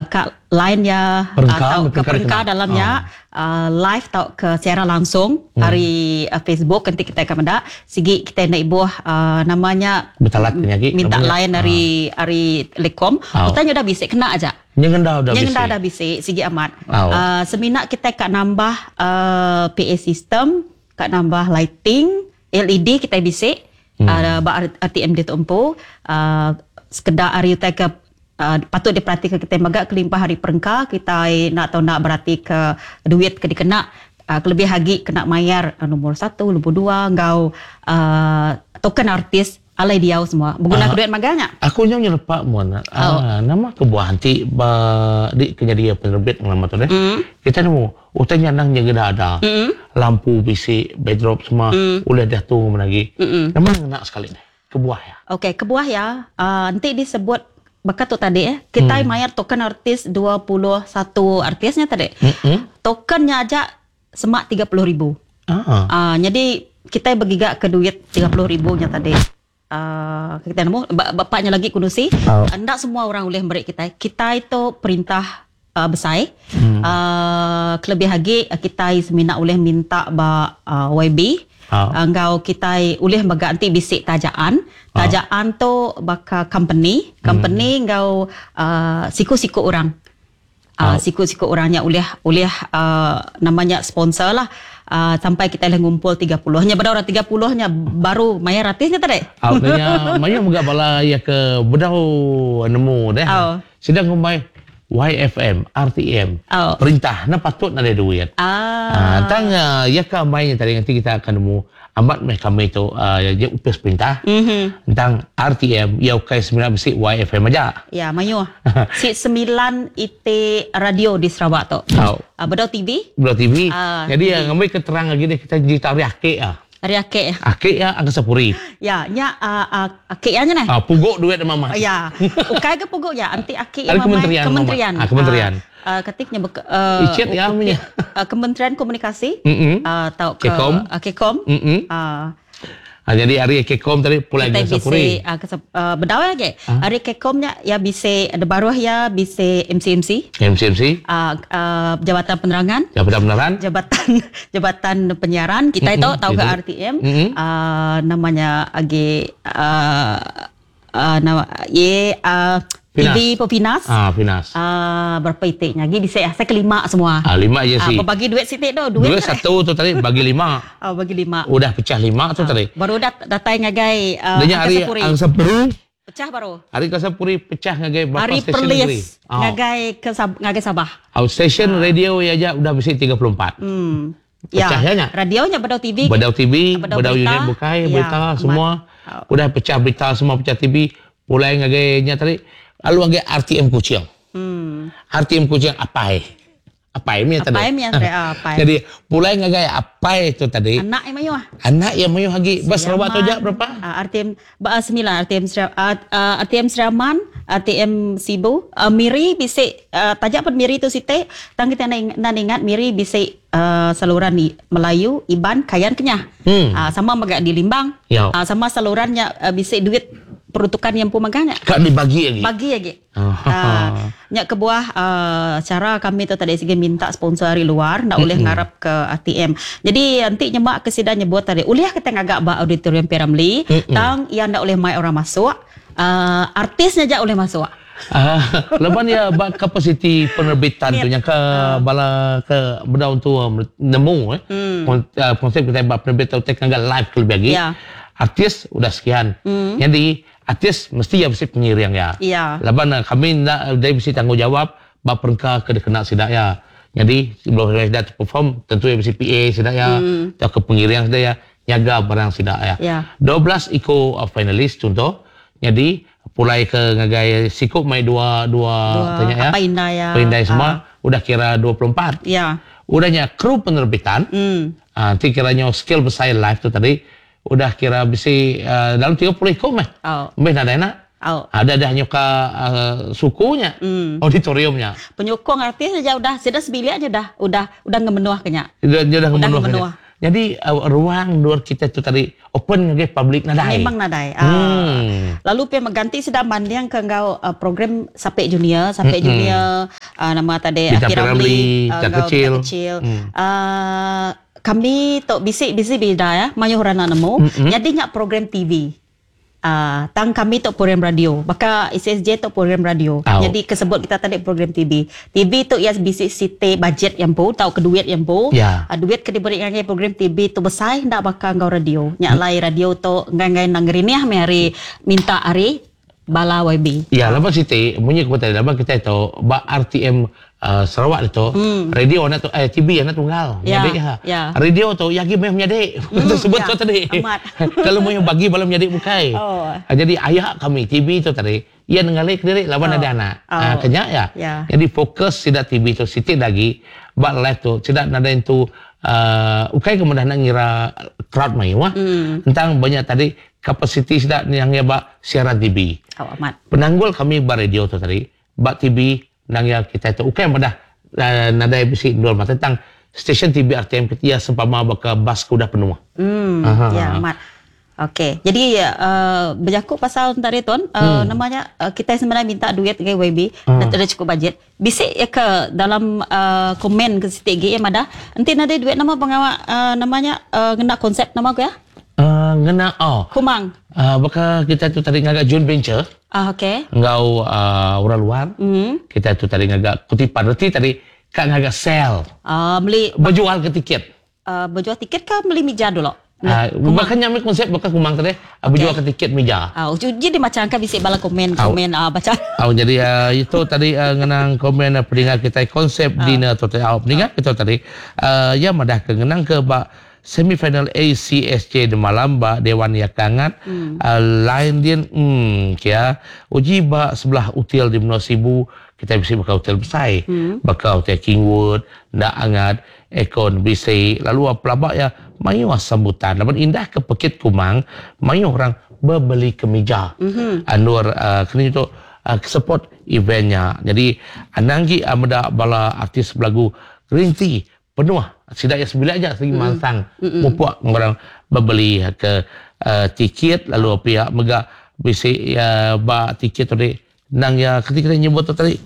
ka line iya Perengka, tauka perengka perengka dikena. dalam nya live tauka secara langsung ari Facebook enti kitai ka meda sigi kitai enda ibuh nama nya Betalat ke nya agi minta nama nya. line ari ari telekom Au. utai nya udah bisi kena aja. Nyengenda udah Nyengenda bisi. udah bisi sigi amat. Au. Semina kitai ka nambah PA system ka nambah lighting LED kitai bisi ba RTM ditu empu sekeda ari utai ke patut diperatika kitai mega kelimpah ari perengka kitai enda tau enda beratika duit ke dikena kelebih agi kena mayar nombor satu nombor dua enggau token artis alai diau semua beguna ke duit magang nya. Aku nyau nyelepa mun nama kebuah enti ba di ke nyadi penerbit ngelama tu deh kitai nemu Utai nya endang nyegeda ada. Lampu bisi, backdrop semua ulih diatur meh agi. Nama ngena sekali deh kebuah iya? Okey, kebuah iya enti disebut baka tu tadi eh, kitai mayar token artis 21 artis nya tadi. Token nya aja semak 30 ribu. Nyadi kitai begiga ke duit 30 ribu nya tadi. Kitai nemu ba nya lagi ku nusi enda semua orang ulih meri kitai. Kitai tu perintah besai kelebih agi kitai semina ulih minta ba YB enggau kitai ulih mega enti bisi tajaan. Tajaan tu baka company, company enggau siku-siku orang. Siku-siku orang nya ulih ulih nama nya sponsor lah sampai kitai ulih ngumpul 30. Nya beda orang 30 nya baru mayar ratis nya tadi. Au nya mayuh mega bala iya ke bedau nemu deh. Sida ngumbai YFM, RTM, perintah enda patut nadai duit. Tang iya ke ambai nya tadi nganti kita akan nemu amat meh kami tu nya opis perintah tang RTM iya ukai semina bisi YFM aja. Ya mayuh. Si semilan iti radio di Sarawak tu. Bedau TV. Bedau TV. Jadi ngambi ke terang agi deh kita jerita ari aki iya. Ari aki. Aki iya Angkasa Puri. Ya nya aki iya nya neh. Pugu duit mama. Ya. Ukai ga pugu iya enti aki iya mama kementerian. Kementerian. Kati nya beka Icit iya meh nya. Kementerian Komunikasi tauka Kekom. Kekom. Jadi ari Kekom tadi pulai ngagai Sapuri. Bedau agi. Ari Kekom nya iya bisi da baruh iya bisi MCMC. MCMC. Jabatan Penerangan. Jabatan Penerangan. Jabatan Jabatan Penyiaran kitai tu tauka RTM nama nya agi Nama ye TV Pefinas. Ah Finas. Berapa iti nya agi bisi asai ke lima semua. Ah lima je si. Bebagi duit siti tu duit. Duit satu tu tadi bagi lima. Oh bagi lima. Udah pecah lima tu tadi. Baru udah datai ngagai Angkasa Puri. Angkasa Puri. Pecah baru. Ari Angkasa Puri pecah ngagai berapa Ari stesen negeri. Perlis ngagai ke ngagai Sabah. Stesen radio iya aja udah bisi 34. Hmm. Pecah ya nya. Radio nya bedau TV. Bedau TV, bedau, bedau unit bukai, ya, berita amat. Semua. Udah pecah berita semua pecah TV, pulai ngagai nya tadi lalu ngagai RTM Kuching. RTM Kuching apai. Apai mih tadi. Apai mih tadi, ah, apai. Jadi pulai ngagai apai tu tadi. Anak iya mayuh. Anak iya mayuh agi. Ba Sarawak tu aja berapa? RTM ba semilan RTM RTM Sri Aman, RTM Sibu, Miri bisi taja pun Miri tu siti tang kita enda ingat Miri bisi saluran Melayu, Iban, Kayan, Kenyah. Sama mega di Limbang. Sama saluran nya bisi duit peruntukan iya empu mega nya. Ka dibagi agi. Bagi agi. Nya kebuah chara kami tu tadi sigi minta sponsor ari luar enda ulih ngarap ke RTM. Jadi enti nyema ke sida nyebut tadi ulih kitai ngaga ba auditorium P Ramlee tang iya enda ulih mai orang masuk artis nya aja ulih masuk. Laban iya ba kapasiti penerbitan tu nyangka bala ke bedau entu nemu eh konsep kitai ba penerbitan utai ke ngaga live ke lebih agi artis udah sekian. Nyadi Artis mesti iya bisi pengiring iya. Iya. Laban kami enda dei bisi tanggungjawab ba perengka ke dikena sida iya. Nyadi sebelum sida tu perform tentu iya bisi PA sida iya tauka pengiring sida iya nyaga barang sida iya. Iya. 12 iku finalis chunto nyadi pulai ke ngagai siku mai dua dua Dua tanya iya. Apai indai iya. Apai indai semua udah kira 24. Iya. Udah nya kru penerbitan enti kira nyau skill besai live tu tadi Udah kira bisi dalam 30 iku meh. Meh nadai enda. Ada dah nyuka suku nya, auditorium nya. Penyukung artis aja udah sida sebilik aja udah udah udah ngemenuh ke nya. Udah ngemenuh ke nya. Jadi ruang endur kita tu tadi open ngagai public nadai. Memang nadai. Hmm. Lalu pia meganti sida manding ke enggau program Sapek Junior, Sapek Junior nama tadi Bintang Piramli, Bintang Kecil. Kecil. Kami tu bisi bisi bida ya, mayuh orang nak nemu. Jadi nya program TV. Tang kami tu program radio. Baka SSJ tu program radio. Au. Jadi ke sebut kita tadi program TV. TV tu iya bisi siti budget iya empu tauka duit iya empu. Ya. Duit ke diberi ngagai program TV tu besai enda baka enggau radio. Nya alai radio tu enggai-enggai endang ngerinih meh ari minta ari bala YB. Ya laban siti munyi ku tadi laban kitai tu ba RTM Sarawak ditu radio anak tu eh TV anak tunggal menyadi ha. Radio tu iya agi meh menyadi sebut tu tadi. Kalau meh bagi bala menyadi bukai. Jadi aya kami TV tu tadi iya nengali kediri laban ada anak. Ke nya iya. Jadi fokus sida TV tu siti da agi ba live tu sida nadai entu uhh ukai ke meda enda ngira crowd mayuh tentang ba nya tadi kapasiti sida yang iya ba siaran TV. Penanggul kami ba radio tu tadi ba TV Endang iya kitai tu ukai madah nadai bisi endur mata tang stesen TV RTM iya sempama baka bas ke udah penuh. Emm ya amat. Okey. Jadi bejaku pasal enta ari tuan nama nya kitai sebenarnya minta duit ngagai YB enda chukup bajet. Bisi iya ke dalam komen ke siti agi iya madah enti nadai duit nama pengawa nama nya ngena konsep nama ku iya? Ngena oh. Kumang. Baka kitai tu tadi ngaga joint venture. Ah okey. Enggau orang luar. Kitai tu tadi ngaga kutipan reti tadi ka ngaga sel. Ah meli bejual ke tiket. Bejual tiket ka meli mija dulu. Baka nya meh konsep baka kumang tadi bejual ke tiket mija. Au uji dimacham ka bisi bala komen komen bacha. Au jadi itu tadi ngenang komen peninga kitai konsep dinner tu tadi. Au peninga kitai tadi iya madah ke ngenang ke ba Semifinal ACSJ demalam ba Dewan Yakangat line din emm kia uji ba sebelah util di menua Sibu kitai bisi baka util besai baka util Kingwood enda angat aircon bisi lalu pelaba iya mayuh sambutan laban indah ke pekit kumang mayuh orang bebeli kemija endur keni tu support event nya jadi anang agi meda bala artis belagu green tea Penuh sida iya sebilik aja segi mansang mupuk orang bebeli ke tiket lalu pia mega bisi iya ba tiket tu tadi endang iya keti kena nyebut tu tadi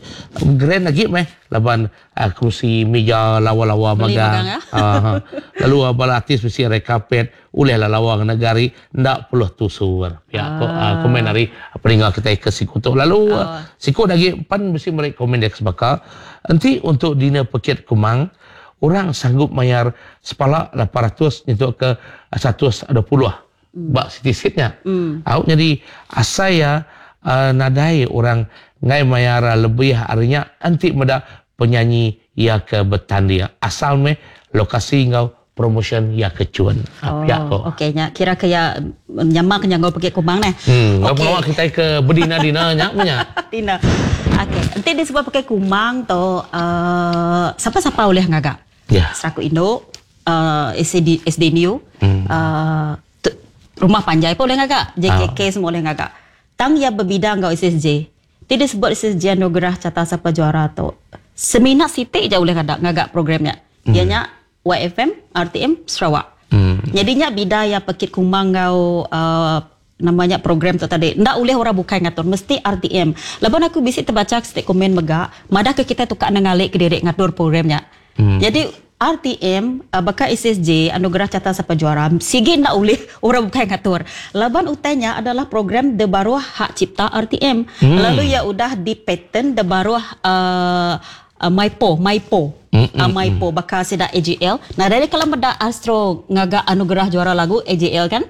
grand agi meh laban kerusi mija lawa-lawa magang uhh lalu bala artis bisi red carpet ulih lah lawa ngena gari enda perlu tusur pia ko komen ari peninga kitai ke siku tu lalu siku da agi pan bisi meri komen dia ke sebaka enti untuk dinner pekit kumang orang sanggup mayar sepala 800 nyentuk ke 120 ba siti sit nya au nyadi asai iya nadai orang enggai mayar lebih ari nya enti meda penyanyi iya ke betanding asal meh lokasi enggau Promotion iya ke chun. Pia ko. Okey nya kira ke iya nyama ke nyanggau pegi kumang neh. Enggau pengawa kitai ke bedina-dina nya meh nya. Dina. Okey enti disebut pakai kumang tu uhh sapa-sapa ulih ngaga. Ya. Serakup indu uhh SAD SDNU uhh rumah panjai pun ulih ngaga JKK semua ulih ngaga. Tang iya bebida enggau SSJ. Ti disebut SSJ Anugerah Carta Sapa Juara tu semina siti ja ulih ngaga ngaga program nya. Iya nya YFM, RTM, Sarawak. Nyadi nya bida iya pekit kumang enggau uhh nama nya program tu tadi. Enda ulih orang bukai ngatur mesti RTM. Laban aku bisi tebacha siti komen mega madah ke kitai tukar nengali kediri ngatur program nya. Nyadi RTM baka SSJ Anugerah Carta Sapa Juara sigi enda ulih orang bukai ngatur. Laban utai nya adalah program de baruh hak cipta RTM lalu iya udah dipaten de baruh uhh Maipo, Maipo. Maipo baka sida AJL. Nadai deh kala meda Astro ngaga anugerah juara lagu AJL kan.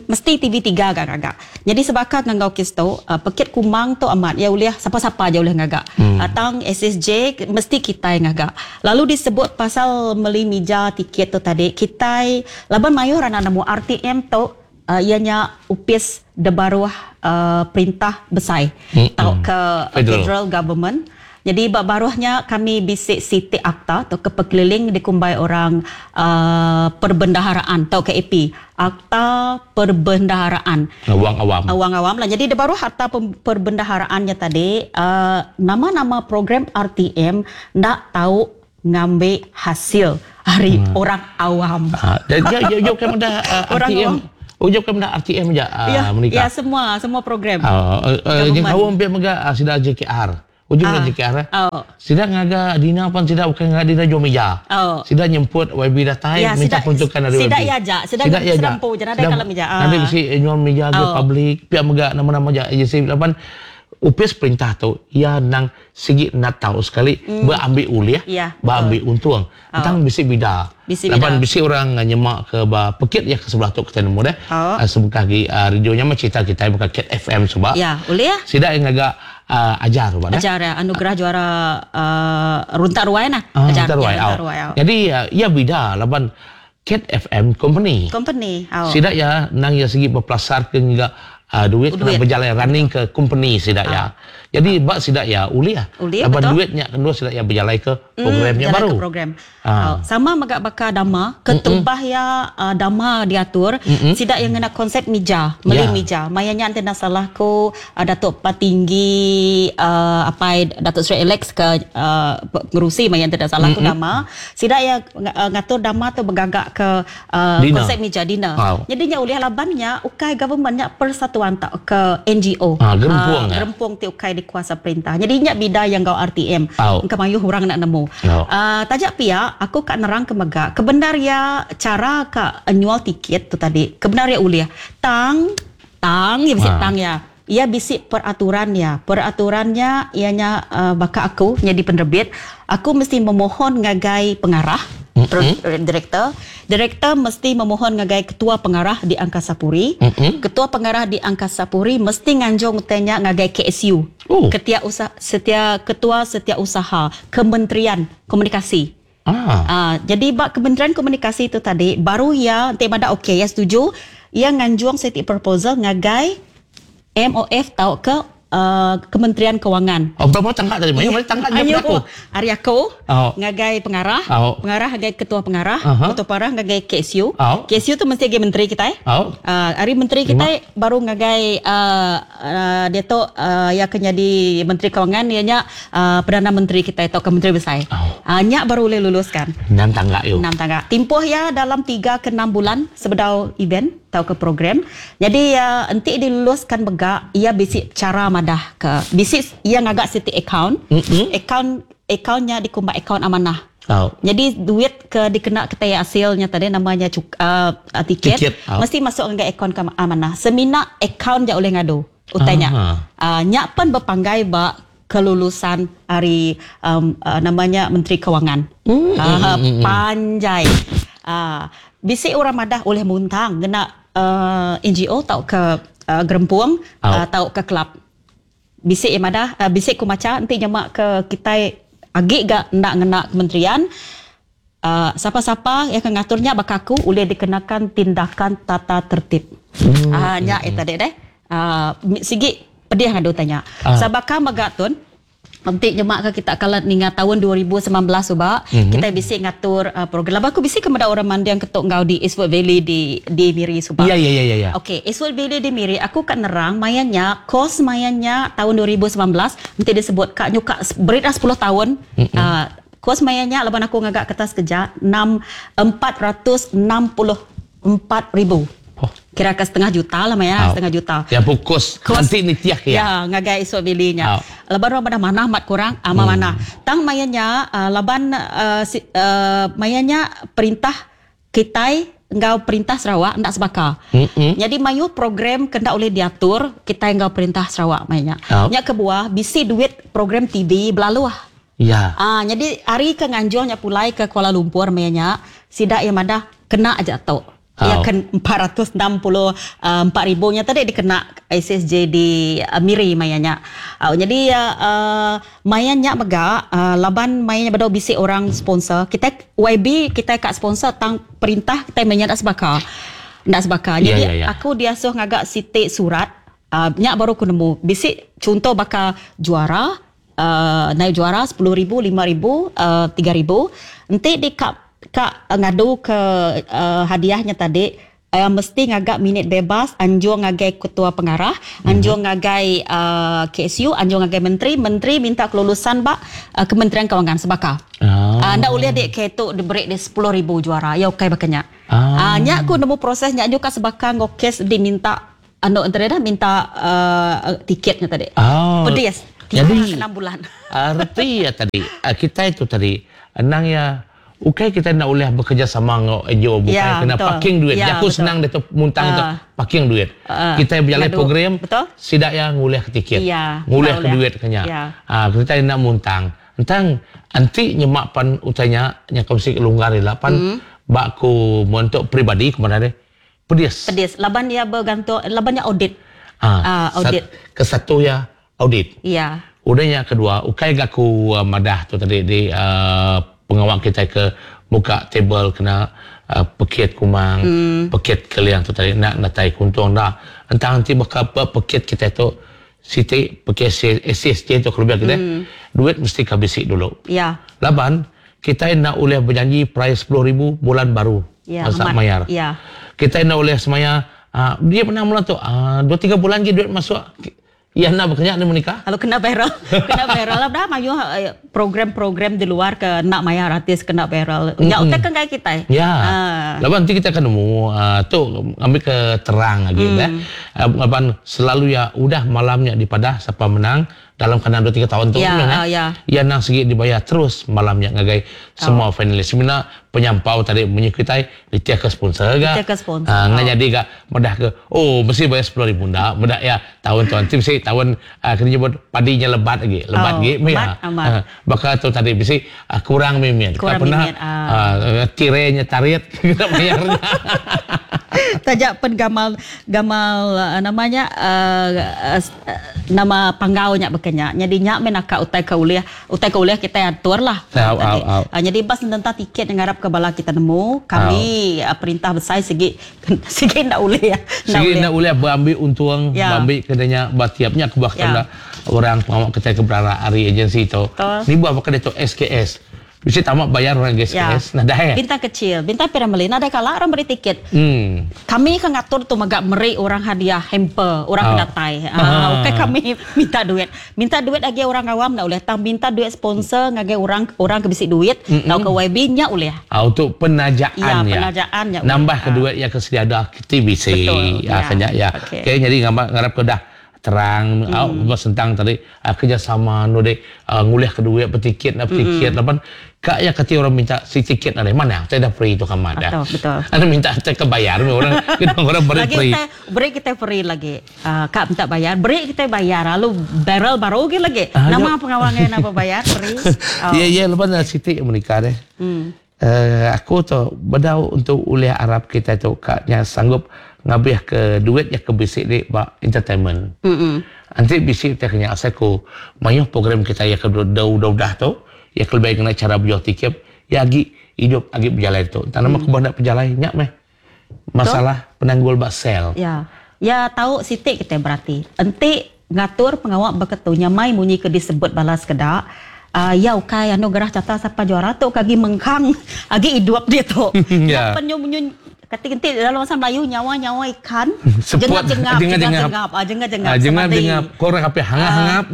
Mesti TV3 ga ngaga. Nyadi sebaka enggau kes tu, pekit kumang tu amat iya ulih sapa-sapa aja ulih ngaga. Tang SSJ mesti kitai ngaga. Lalu disebut pasal meli mija tiket tu tadi, kitai laban mayuh ra nemu RTM tu iya nya opis debaruh perintah besai tauka federal government. Nyadi ba baruh nya kami bisi siti akta tauka pekeliling dikumbai orang perbendaharaan tauka AP, Akta Perbendaharaan. Wang awam. Wang awam lah. Nyadi debaruh akta perbendaharaan nya tadi nama-nama program RTM enda tau. ngambi hasil ari orang awam. Ha, ya ya ya kan dah Orang RTM. awam. Oh, ya kan dah RTM aja Ya, menikah. ya semua semua program. Uh, uh, uh, mega sida JKR. Ujung ah. JKR. Oh. Sida ngaga dina pan sida bukan ngaga dina jual meja. Oh. Sida nyemput YB datai Ya, minta sida- peruntukan dari sida YB. ya aja, sida sida empu je, nadai kalau meja. Ah. Nanti mesti jual meja ke Oh. public, pihak mega nama-nama ja agensi lapan upis perintah tu ia nang sigi nak tahu sekali mm. berambil ulih, Ya, berambil untung. Tentang bisi bida. Bisi Lapan bida. bisi orang nyemak ke ba pekit ya ke sebelah tu kita nemu deh. Oh. Uh, sebekah gi radionya mah cerita kita bukan Cat FM sebab. Ya, boleh ya? Sida yang agak ajar ba dah. Ajar ya, anugerah juara runtak ruai nah. Ah, ajar Runtak Ruai. ya, Oh. runtak ruai. Oh. Jadi ya bida laban Cat FM company. Company. Oh. Sida ya nang ya segi berpelasar ke enggak duit, Duit. kena berjalan running ke company sida ya. Jadi bak sida ya uli ya. Uli, Laban betul. duitnya kedua sida ya berjalan ke programnya jalan baru. Ke program. Ah. Oh, sama megak baka dama, ketubah ya dama diatur, sidak yang ngena konsep mija, meli Ya. mija. Mayanya ante salah ko Datuk Patinggi apa Datuk Seri Alex ke pengerusi maya ante salah ko dama. Sidak ya ngatur dama tu bergagak ke Dina. konsep mija dina. Wow. Jadinya oleh labannya ukai governmentnya persatuan tak ke NGO. Ah, gerempung, ya. Gerempung ti ukai dikuasa perintah. Jadi nya bida yang gau RTM. Au. Engka mayuh orang nak nemu. Au. Tajak pia aku kak nerang ke mega. Kebenar ya cara kak nyual tiket tu tadi. Kebenar ya uliah. Tang tang ya bisik Ah. tang ya. Ia bisik peraturan ya. Peraturannya ianya baka aku jadi penerbit, aku mesti memohon ngagai pengarah mm-hmm. direktor. Direktor mesti memohon ngagai ketua pengarah di Angkasa Puri. Mm-mm. Ketua pengarah di Angkasa Puri mesti nganjung tanya ngagai KSU. Oh. Ketia usaha setia ketua setiausaha Kementerian Komunikasi. Ah. Jadi bak Kementerian Komunikasi itu tadi baru ya nanti pada okey ya setuju ia nganjuang seti proposal ngagai MOF tau ke Kementerian Kewangan. Oh, berapa tangga tadi? Maya, tangga dia Ayo, aku. Hari aku Oh. ngagai pengarah, Oh. pengarah ngagai ketua pengarah, Aha. ketua pengarah ngagai KSU. Oh. KSU tu mesti ngagai menteri kita eh. Oh. Hari menteri kita baru ngagai dia tu yang akan jadi menteri kewangan ianya perdana menteri kita atau ke menteri besar. Oh. Nyak baru boleh luluskan. Enam tangga yo. 6 tangga. Timpuh ya dalam 3 ke 6 bulan sebedau event atau ke program. Jadi entik diluluskan begak ia bisik cara madah ke bisik ia ngagak siti account. Mm-mm. Account accountnya dikumbat account amanah. Oh. Jadi duit ke dikena kita hasilnya tadi namanya cuk, tiket, Tiket, oh. mesti masuk ke akaun ke amanah. Semina akaun je oleh ngadu utanya. Aha. Nyak pun berpanggai ba kelulusan hari namanya Menteri Kewangan. Panjai. Bisik orang madah oleh muntang kena NGO tau ke gerempuang Oh. tau ke kelab. Bisik yang madah bisik ku maca nanti nyemak ke kita agik gak nak ngena kementerian siapa-siapa yang akan ngaturnya bak aku boleh dikenakan tindakan tata tertib. Nyak itu tadi deh. Sigi pedih ngadu tanya. Sabaka megatun nanti nyemak ke kita kalau ninga tahun 2019 suba kita bisik ngatur program. Laba aku bisik kepada orang mandiang ketuk ngau di Eastwood Valley di di Miri suba. Ya ya ya ya ya. Okey, Eastwood Valley di Miri aku kan nerang mayanya kos mayanya tahun 2019 nanti disebut kak nyuka berit dah 10 tahun. Kos mayanya laban aku ngagak kertas kerja 6 464 ribu. Oh. Kira ke setengah juta lah maya, Oh. setengah juta. Yang fokus Kos- nanti ni tiak ya. Ya, ngagai esok bilinya. Oh. Laban orang pada mana mat kurang, ama mana. Tang mayanya laban mayanya perintah kitai enggau perintah Sarawak ndak sebaka. Mm-mm. Jadi mayu program kena oleh diatur kita enggau perintah Sarawak mayanya. Oh. Nya kebuah bisi duit program TV belalu ah. Ya. Jadi hari ke nganjuangnya pulai ke Kuala Lumpur mayanya sidak yang madah kena aja tok. Ya Oh. kan 464 ribunya tadi dikena SSJ di Miri mayanya. Jadi mayanya mega laban mayanya bedau bisi orang sponsor. Kita YB kita kat sponsor tang perintah kita mayanya tak sebaka. Tak sebaka. Ya, Jadi ya, ya. aku diasuh ngagak sitik surat nyak baru aku nemu. Bisi contoh bakal juara naik juara 10,000, 5,000, 3,000. Nanti di kak kak ngadu ke hadiahnya tadi mesti ngagak minit bebas anjung ngagai ketua pengarah, anjung ngagai KSU, anjung ngagai menteri, menteri minta kelulusan bak Kementerian Kewangan sebaka. Ah, enda ulih dik ke tu diberi di 10,000 juara. Ya ukai baka nya. Ah. Ah, nya ku nemu proses nya nyuka sebaka enggau kes diminta anu enteri dah minta uh, tiket nya tadi. Oh. Pedis. Jadi 6 bulan. Reti ya tadi, kitai tu tadi endang ya ukai kita nak boleh bekerjasama enggau NGO bukai ya, kena betul. parking duit. Ya, Jaku betul. senang dia tu muntang tu parking duit. Kita berjalan ngadu. Program Betul. sidak ya ngulih ke tiket. Ya, ngulih ke tak duit kenya. Ya. Ah, kita nak muntang. Entang anti nyemak pan utanya nya kongsi longgar ila pan bak ku untuk pribadi ke mana deh. Pedis. Pedis. Laban dia bergantung, laban dia audit. Ah, Ah, audit. Ke satu ya audit. Ya. Udahnya kedua, ukai gaku madah tu tadi di pengawal kita ke buka table kena pekit kumang, pekit keliang tu tadi nak natai kuntung dah. Entah nanti bakal pekit kita tu siti pekit SSJ tu kalau kita duit mesti kabisi dulu. Ya. Laban kita nak boleh berjanji price 10,000 bulan baru. Ya, masa amat. mayar. Ya. Kita nak boleh semaya dia pernah mula tu 2 3 bulan lagi duit masuk. Ya nak bekerja dia menikah. Kalau kena viral, kena viral lah dah mayu program-program di luar ke nak mayar artis kena viral. Ya utai kan kayak kita. Ya. Ah. Laban nanti kita akan nemu tu ambil ke terang lagi dah. Laban selalu ya udah malamnya di padah siapa menang dalam kena 2 3 tahun tu Ya, kan, ya. Ya nang segi dibayar terus malamnya ngagai semua finalis. Sebenarnya penyampau tadi munyi kita ditia ke sponsor ga. Ditia ke sponsor. Ah, ngan jadi ga medah ke oh mesti bayar 10,000 dak. Medah ya tahun tu nanti mesti tahun kena nyebut padinya lebat lagi. Lebat Oh, lagi lebat, ya. amat. Bakal tu tadi mesti kurang mimit. Kurang Tak pernah mimit, ah. tirenya tarik kita bayarnya. Tajak pen gamal gamal namanya nama panggaunya bekenya. Jadi nyak men akak utai ke ulih, utai ke ulih kita atur lah. Au, Tadi. au, au. Jadi bas tentang tiket yang harap ke bala kita nemu, kami perintah besar segi segi ndak ulih ya. Segi nak boleh berambil untung, Ya. berambil kedanya batiapnya ke bah Ya. orang pengawal kita ke berara ari agensi tu. Betul. Ni buat pakai tu SKS. Bisa tamat bayar orang SKS. Nah dah ya. Bintang kecil, bintang piramid. Ada kala orang beri tiket. Kami kan ngatur tu megak meri orang hadiah hamper, orang Oh. kedatai. Okey kami minta duit. Minta duit lagi orang awam nak boleh. Tang minta duit sponsor ngagai orang orang ke bisi duit, tau ke YB nya boleh. Untuk penajaan Ya, ya. penajaan ya. Nambah ke Ah. duit yang kesedia ada TBC. Betul, Ya, ya. kena ya. Okey. Okey, jadi ngarap ke dah terang tentang tadi kerjasama nu dek ngulih ke duit bertiket nak bertiket lapan kak ya kata orang minta si tiket dari mana saya dah free tu kamat dah. Betul, betul. Anda minta saya kebayar orang kita orang beri Lagi free. kita beri kita free lagi. Kak minta bayar, beri kita bayar lalu barrel baru lagi lagi. Nama Ya. pengawangnya nama bayar free. Oh. Ya ya lepas dah Siti yang menikah deh. Aku tu bedau untuk uliah Arab kita tu kaknya sanggup ngabih ke duit yang ke bisik di bak entertainment. Nanti bisik kita kena asal ku mayuh program kita yang ke dah dah tu yang lebih kena cara berjual tiket ya agi hidup agi berjalan tu. Tak nama aku nak berjalan nyak meh. Masalah penanggul bak sel. Ya. Ya tahu sitik kita berarti. Enti ngatur pengawak beketu nyamai munyi ke disebut balas kedak. Ya ukai anu gerah cata siapa juara tu kagi mengkang agi hidup dia tu. Ya. Ya. Penyu kati-kati dalam bahasa Melayu nyawa-nyawa ikan Seput. jengap-jengap Jengap-jengap. jengap-jengap ah jengap-jengap Jengap-jengap korang apa hangap-hangap.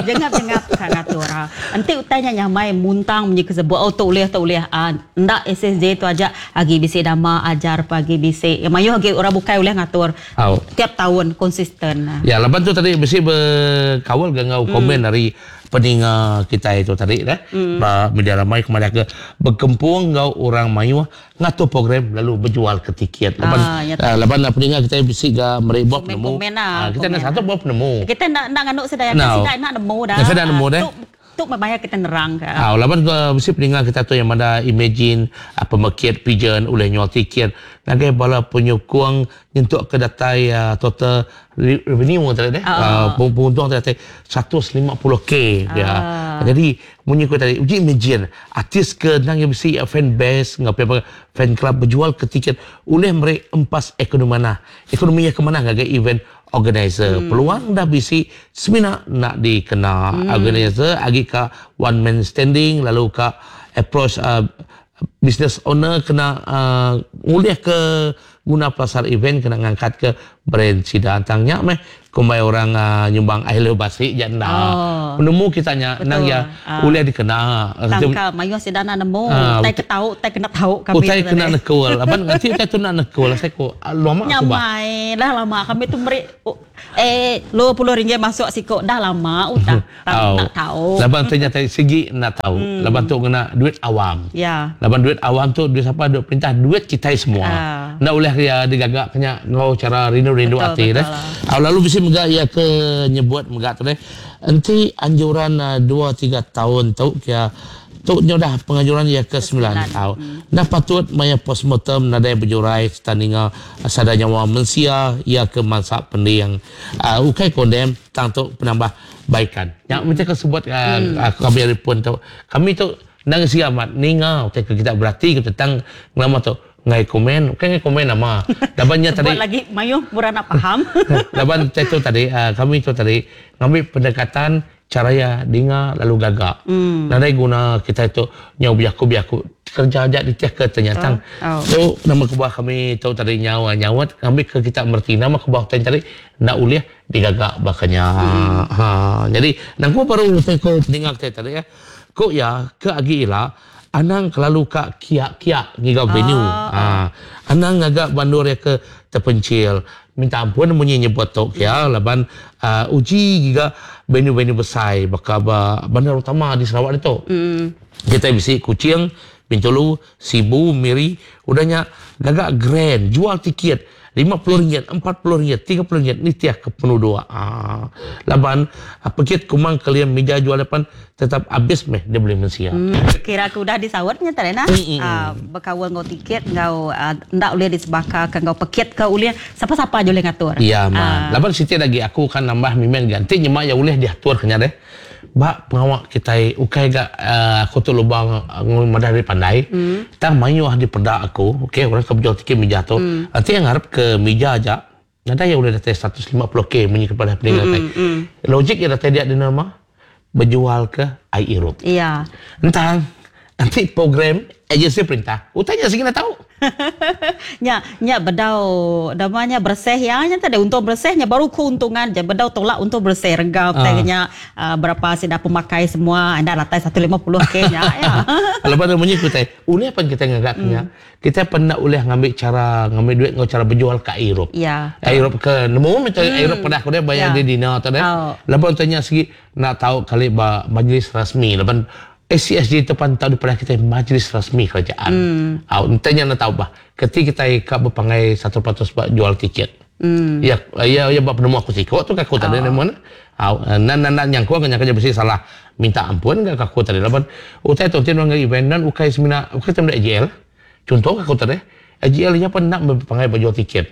Jengap-jengap kan ngatur. Ah. Enti utainya nyamai muntang munyi kesebut oh tu ulih tu ulih. Ndak SSJ tu aja agi bisi dama ajar pagi bisi. Ya mayu agi orang bukai ulih ngatur. Au. Tiap tahun konsisten. Ya, lepas tu tadi mesti berkawal gangau komen dari peninga kita itu tadi dah. Ba media ramai kepada ke berkempung ngau orang mayu ngatur program lalu berjual ke tiket. Lepas Ya lepas lah peninga kita mesti ga merek buat Komen- penemu. komen lah, Kita nak komen satu buat penemu. Kita nak nak nganuk sedaya No. sedaya nak nemu dah. Nak sedaya nemu dah. Tu tu membayar kita nerang ke. Laban ke mesti peninga kita tu yang mana imagine apa mekit pigeon oleh nyual tiket ngagai bala penyokong nyentuk ke datai total revenue tadi deh. Penguntung tadi 150k ya. Jadi munyi ku tadi uji imagine artis ke nang yang mesti fan base ngap apa fan club berjual ke tiket oleh mereka empas ekonomi mana. Ekonominya ke mana ngagai event organizer. Peluang dah bisi semina nak dikena organizer agi ka one man standing lalu ka approach business owner kena ngulih ke guna pelasar event kena ngangkat ke brand sida tang nya meh kumbai orang nyumbang ai leu basi ja enda. Penemu kita nya endang iya ulih dikena. Tangka mayuh sida enda nemu utai ke tau utai kena tau kami utai kena nekul laban enti utai tu enda nekul asai ku lama suba. Nyamai dah lama kami tu meri eh 20 ringgit masuk siku dah lama udah tang enda tau. Laban tu nya tadi sigi enda tau laban tu ngena duit awam. Laban duit awam tu duit sapa duit perintah duit kitai semua. Enda ulih iya digaga ke nya enggau chara rindu-rindu ati deh. Lalu bisi mega iya ke nyebut mega tu deh enti anjuran 2 3 taun tu kia tu nya udah penganjuran iya ke semilan tau. Enda patut maya postmortem nadai bejurai sereta ninga sada nyawa mensia iya ke mansa pending. Ukai kondem tang tu penambah baikan. Nya meh ke sebut kami ari pun tu. Kami tu enda ngesi amat ninga utai ke kita berati ke tentang ngelama tu ngai komen ukai ngai komen nama laban nya tadi sebut lagi mayuh orang nak faham. Laban utai tu tadi kami tu tadi ngambi pendekatan chara iya dinga lalu gaga. Nadai guna kitai tu nyau bejaku-bejaku kereja aja nitihka tanya tang tu nama kebuah kami tu tadi nyau nyaut ngambika kita mereti nama kebuah utai tadi enda ulih digaga baka nya. Ha nyadi nangku baru utai ku peninga kitai tadi ku iya ke agi ila anang kelalu ka kia-kia ngiga venue. Ha anang ngaga ba endur iya ke tepencil. Minta ampun munyi nyebut tu kia laban uji giga venue-venue besai baka ba bandar utama di Sarawak ditu. Kitai bisi Kuching, Bintulu, Sibu, Miri udah nya gaga grand jual tiket RM50, RM40, RM30 nitih ke penuduk. Aa laban pekit kumang kelim mija jual depan tetap abis meh dibeli mensia. Kira ke udah disaut nya tadi nah. Bekaul enggau tiket enggau enda ulih disebakaka enggau pekit ke ulih sapa-sapa aja ulih ngatur. Iya mah. Laban siti agi aku kan nambah mimit ga enti nyema iya ulih diatur ke nya deh. Ba pengawa kitai ukai ga aku tu lubang madah diri pandai tang mayuh dipeda aku okay orang ke bejual tiket mija tu enti iya ngarap ke mija aja nadai iya ulih datai 150k munyi ke padah peninga tai. Logik iya datai dia dina mah bejual ke ai irup. Iya. Entang enti program agensi perintah utai nya sigi enda tau. Nya nya bedau nama nya bersih iya nya tadi untung bersih nya baru keuntungan ja bedau tolak untung bersih rega utai nya berapa sida pemakai semua enda datai 150 k nya ya. Lepas tu munyi ku utai ulih pan kitai ngaga ke nya kitai pan enda ulih ngambi chara ngambi duit enggau chara bejual ka irup. Iya. Irup ke nemu meh tu irup pedah ku deh bayar di dinner tu deh. Lepas tu nya sigi enda tau kali ba majlis rasmi laban ACSG tu pan tau dipadah kitai majlis rasmi kerajaan. Au enti nya enda tau bah keti kitai ka bepangai 100% ba jual tiket. Iya iya iya ba penemu aku siko tu ka aku tadi nemu ne. Au enda enda nyangkung ke nyangka nya bisi salah minta ampun ga ka aku tadi laban utai tu enti nuan ngagai event nuan ukai semina ukai ti meda AJL. Chunto ka aku tadi AJL iya pan enda bepangai ba jual tiket.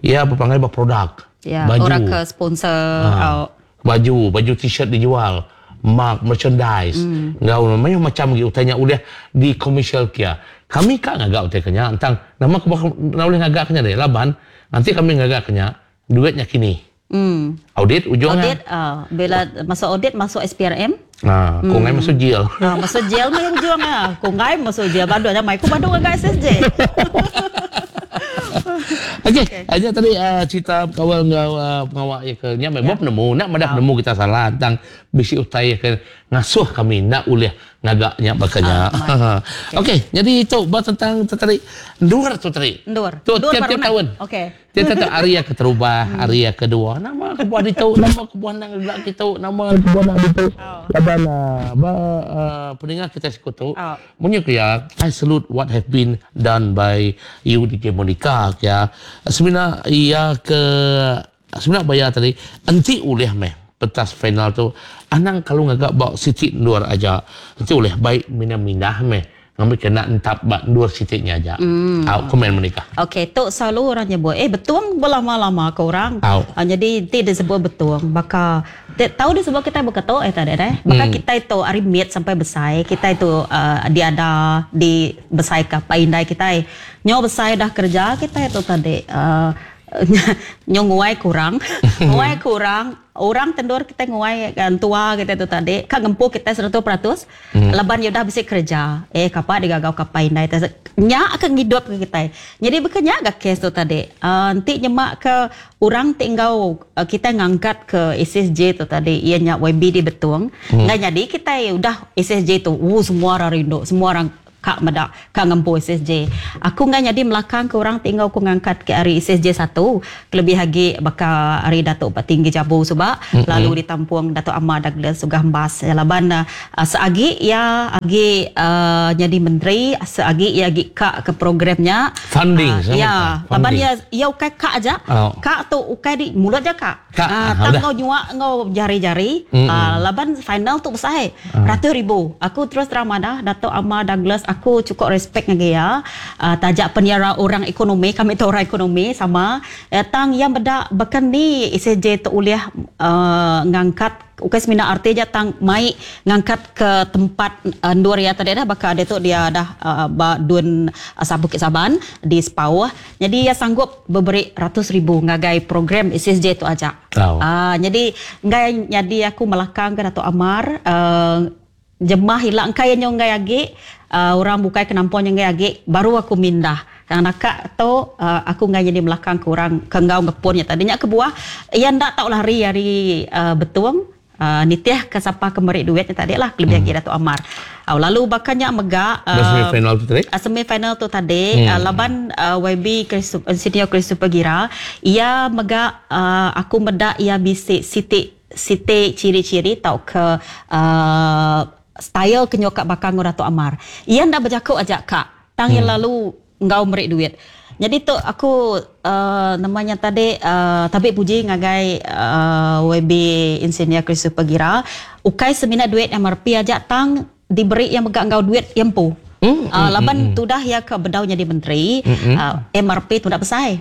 Iya bepangai ba produk. Baju. Orang ke sponsor au. Baju, baju t-shirt dijual, mug, merchandise enggau mayuh macham agi utai nya ulih dikomersial kia. Kami ka ngaga utai ke nya tang nama kebuah enda ulih ngaga ke nya deh laban enti kami ngaga ke nya duit nya kini. Audit ujung nya. Audit bila masuk audit masuk SPRM. Haa ku enggai masuk jil. Haa masuk jil meh ujung nya. Ku enggai masuk jil badu nya mai ku badu ngaga SSJ. Okey, nya tadi cerita bekaul enggau pengawa iya ke nya meh bup penemu enda madah penemu kita salah tang bisi utai iya ke ngasuh kami enda ulih ngaga nya baka nya. Okey, nyadi tu ba tentang tu tadi endur tu tadi. Endur. Tu tiap-tiap taun. Okey. Ti tetap ari iya keterubah, ari iya kedua. Nama kebuah ditu, nama kebuah enda ngegak kitu, nama kebuah enda ditu. Laban ba peninga kitai siku tu, munyi ku iya, I salute what have been done by you DJ Monica ku iya. Semina iya ke semina ba iya tadi enti ulih meh pentas final tu anang kelalu ngaga ba siti endur aja. Enti ulih bai mindah-mindah meh Ngambika enda entap ba endur siti nya aja. Au, komen Monica. Okey, tu selalu orang nyebut, eh betung belama-lama ke orang. Au. Nyadi enti disebut betung baka ti tau disebut kitai baka tu eh tadi deh. Baka kitai tu ari mit sampai besai, kitai tu uhh diada dibesaika apai indai kitai. Nyau besai dah kereja kitai tu tadi uhh. Nyu nguai kurang. Nguai kurang, orang tendur kitai nguai entua kitai tu tadi ka ngempu kitai 100% laban iya udah bisi kereja. Eh kapa digagau ke apai indai te. Nya ke ngidup ke kitai. Nyadi baka nya ga kes tu tadi. Aaa enti nyema ke orang ti enggau kitai ngangkat ke SSJ tu tadi iya nya YB di Betong, enggai nyadi kitai udah SSJ tu ooh semua orang rindu, semua orang Ka meda ka ngempu SSJ. Aku enggai nyadi melakang ke orang ti enggau ku ngangkat ke ari SSJ satu kelebih agi baka ari Datuk Patinggi Jabu suba lalu ditampung Datuk Amar Douglas Uggah Embas laban seagi iya agi nyadi menteri seagi iya agi ka ke program nya. Funding iya laban iya iya ukai ka aja ka tu ukai di mulut aja ka. Ka, ah, tang enggau nyua enggau jari-jari mm-hmm. laban final tu besai 100,000. Aku terus terang madah Datuk Amar Douglas aku cukup respect ngagai iya. Taja pen iya orang ekonomi, kami tu orang ekonomi sama. Tang iya meda baka ni SSJ tu ulih ngangkat ukai semina arti aja tang mai ngangkat ke tempat endur iya tadi dah baka diatu dia dah ba Dun Bukit Saban di Sepauh. Nyadi iya sanggup beberi 100,000 ngagai program SSJ tu aja. Oh. Nyadi enggai nyadi aku melakang ke Datuk Amar jemah ila engkai iya nyau enggai agi orang bukai ke nampung nya enggai agi baru aku mindah. Tang naka tu aku enggai nyadi melakang ke orang ke enggau ngepun nya tadi. Nya kebuah iya enda tau lari ari Betong. Nitih ke sapa ke meri duit nya tadi lah kelebih agi Datuk Amar. Lalu baka nya mega semi final tu tadi. Semi final tu tadi laban YB Senior Christopher Gira iya mega aku meda iya bisi siti siti ciri-ciri tauka style ke nyuka baka enggau Datuk Amar. Iya enda bejaku aja ka tang iya lalu enggau meri duit. Nyadi tu aku nama nya tadi tabi puji ngagai YB Insinyur Christopher Gira ukai semina duit MRP aja tang diberi iya mega enggau duit iya empu. Laban tudah iya ke bedau nyadi menteri MRP tu enda besai.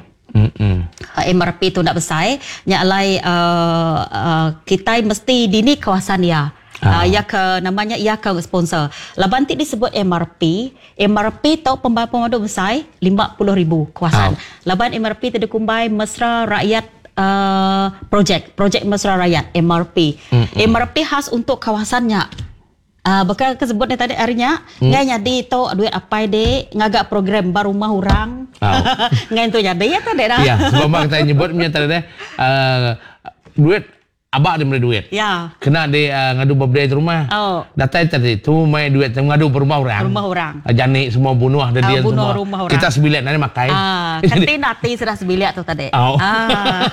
MRP tu enda besai nya alai kitai mesti dini kawasan iya. Iya ke nama nya iya ke sponsor. Laban ti disebut MRP, MRP tu pemadu besai 50,000 kawasan. Laban MRP ti dikumbai Mesra Rakyat Projek, Projek Mesra Rakyat MRP. MRP khas untuk kawasan nya. Baka ke sebut tadi hari nya, ngai nyadi tu duit apai dik ngaga program ba rumah orang. Ngai tu nyadi ya tadi dah. Ya, sebab kita nyebut nya tadi deh duit Aba dia meri duit. Ya. Kena di ngadu birthday di rumah. Oh. Datai tadi tu mai duit tu ngadu ba rumah orang. Rumah orang. Jani semua bunuh uh, dedian bunuh semua. Rumah orang. Kita sebilik nari makai. Ah, kati nati sudah sebilik tu tadi. Oh. Ah.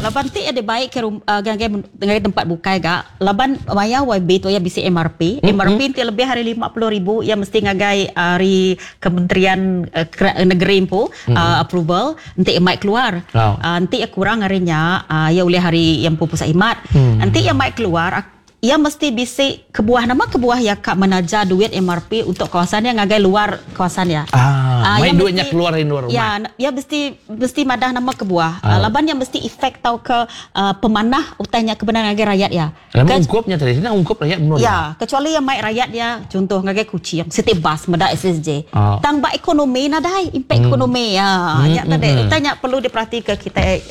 Laban ti ada baik ke rum, uh, ngagai, ngagai tempat bukai ga. Laban maya YB tu ya bisi MRP. MRP ti lebih hari 50,000 ya mesti ngagai hari Kementerian uh, Negeri empu uh, approval. Enti iya mai keluar. Oh. Enti iya kurang ari nya, iya ulih ari iya empu Pusat Khidmat. Enti iya mai keluar, iya mesti bisi kebuah. Nama kebuah iya ka menaja duit MRP untuk kawasan iya ngagai luar kawasan iya. Ah, mai duit nya keluar ari luar rumah. Ya, iya mesti mesti madah nama kebuah. Laban iya mesti efek tauka pemanah utai nya ke bendar ngagai rayat iya. Nama ungkup nya tadi, sida ungkup rayat menua dia. Ya, kecuali iya mai rayat dia chunto ngagai Kuching, siti bas meda SSJ. Oh. Tang ba ekonomi nadai impak ekonomi. Ya, nya tadi utai nya perlu diperatika kitai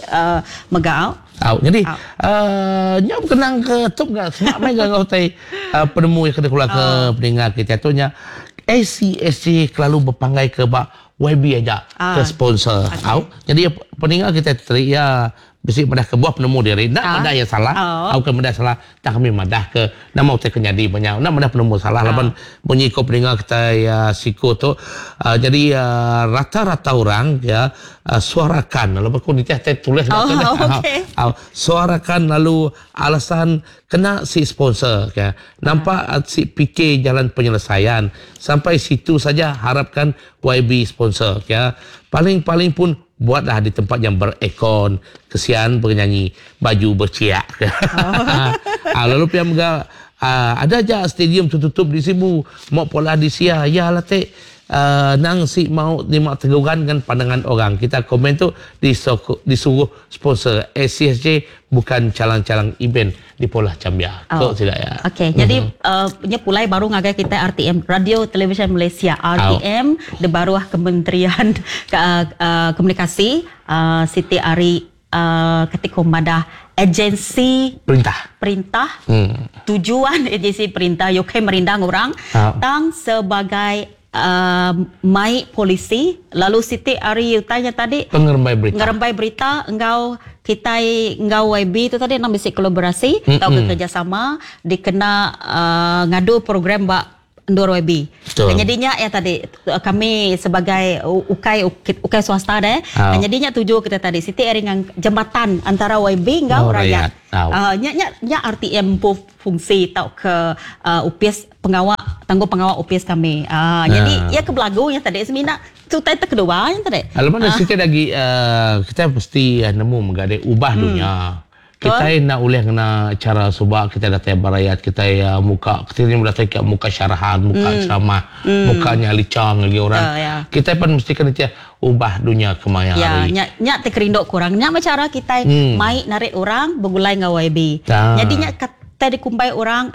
mega. Au, jadi uhh nya bekenang ke tu mega semak meh ga enggau utai penemu iya ke dikeluar ke peninga kitai tu nya ACSJ kelalu bepanggai ke ba YB aja ke sponsor. Au, jadi peninga kitai tu tadi iya Bisi madah kebuah penemu diri enda madah iya salah tauka madah salah tang kami madah ke nama utai ke nyadi ba nya enda madah penemu salah laban munyi ko peninga kitai siku tu jadi rata rata orang ya suarakan lalu ku nitih tai tulis ba tu deh suarakan lalu alasan kena si sponsor ke nampak si fikir jalan penyelesaian sampai situ saja harapkan YB sponsor ke paling paling pun Buatlah di tempat yang berekon. Kesian penyanyi baju berciak. Oh. Lalu pia mega ada aja stadium tertutup di Sibu, mau pola di Sia. Ya lah tek. Uh, nang si mau lima teguran dengan pandangan orang. Kita komen tu disuruh sponsor SCSJ bukan calang-calang event di Polah Cambia. Oh. Kok tidak ya. Okey, jadi nya pulai baru ngagai kita RTM Radio Televisyen Malaysia RTM oh. di baruh Kementerian Komunikasi Siti Ari ketika madah agensi perintah tujuan agensi perintah UK merindang orang tang sebagai mai polisi lalu Siti Ari tanya tadi pengerembai berita engau kita engau YB tu tadi nak bisi kolaborasi atau kerjasama dikena ngadu program bak endur YB. Jadinya ya tadi kami sebagai ukai swasta deh. Jadinya tuju kita tadi Siti Ari ngang jambatan antara YB engau rakyat. Nya RTM fungsi tau ke UPS pengawal tangguh pengawal UPS kami. Jadi ia ke belagu yang tadi semina tu tai kedua yang tadi. Alamak Siti lagi kita mesti nemu mengadai ubah dunia. Kita nak boleh kena cara subak kita datang barayat kita muka kita ni datang ke muka syarahan muka ceramah mukanya licang lagi orang. Kita pun mesti kena ubah dunia kemaya hari. Ya, nya terkerinduk kurang. Nya macam cara kita mai narik orang bergulai dengan YB. Jadi nya tadi kumbai orang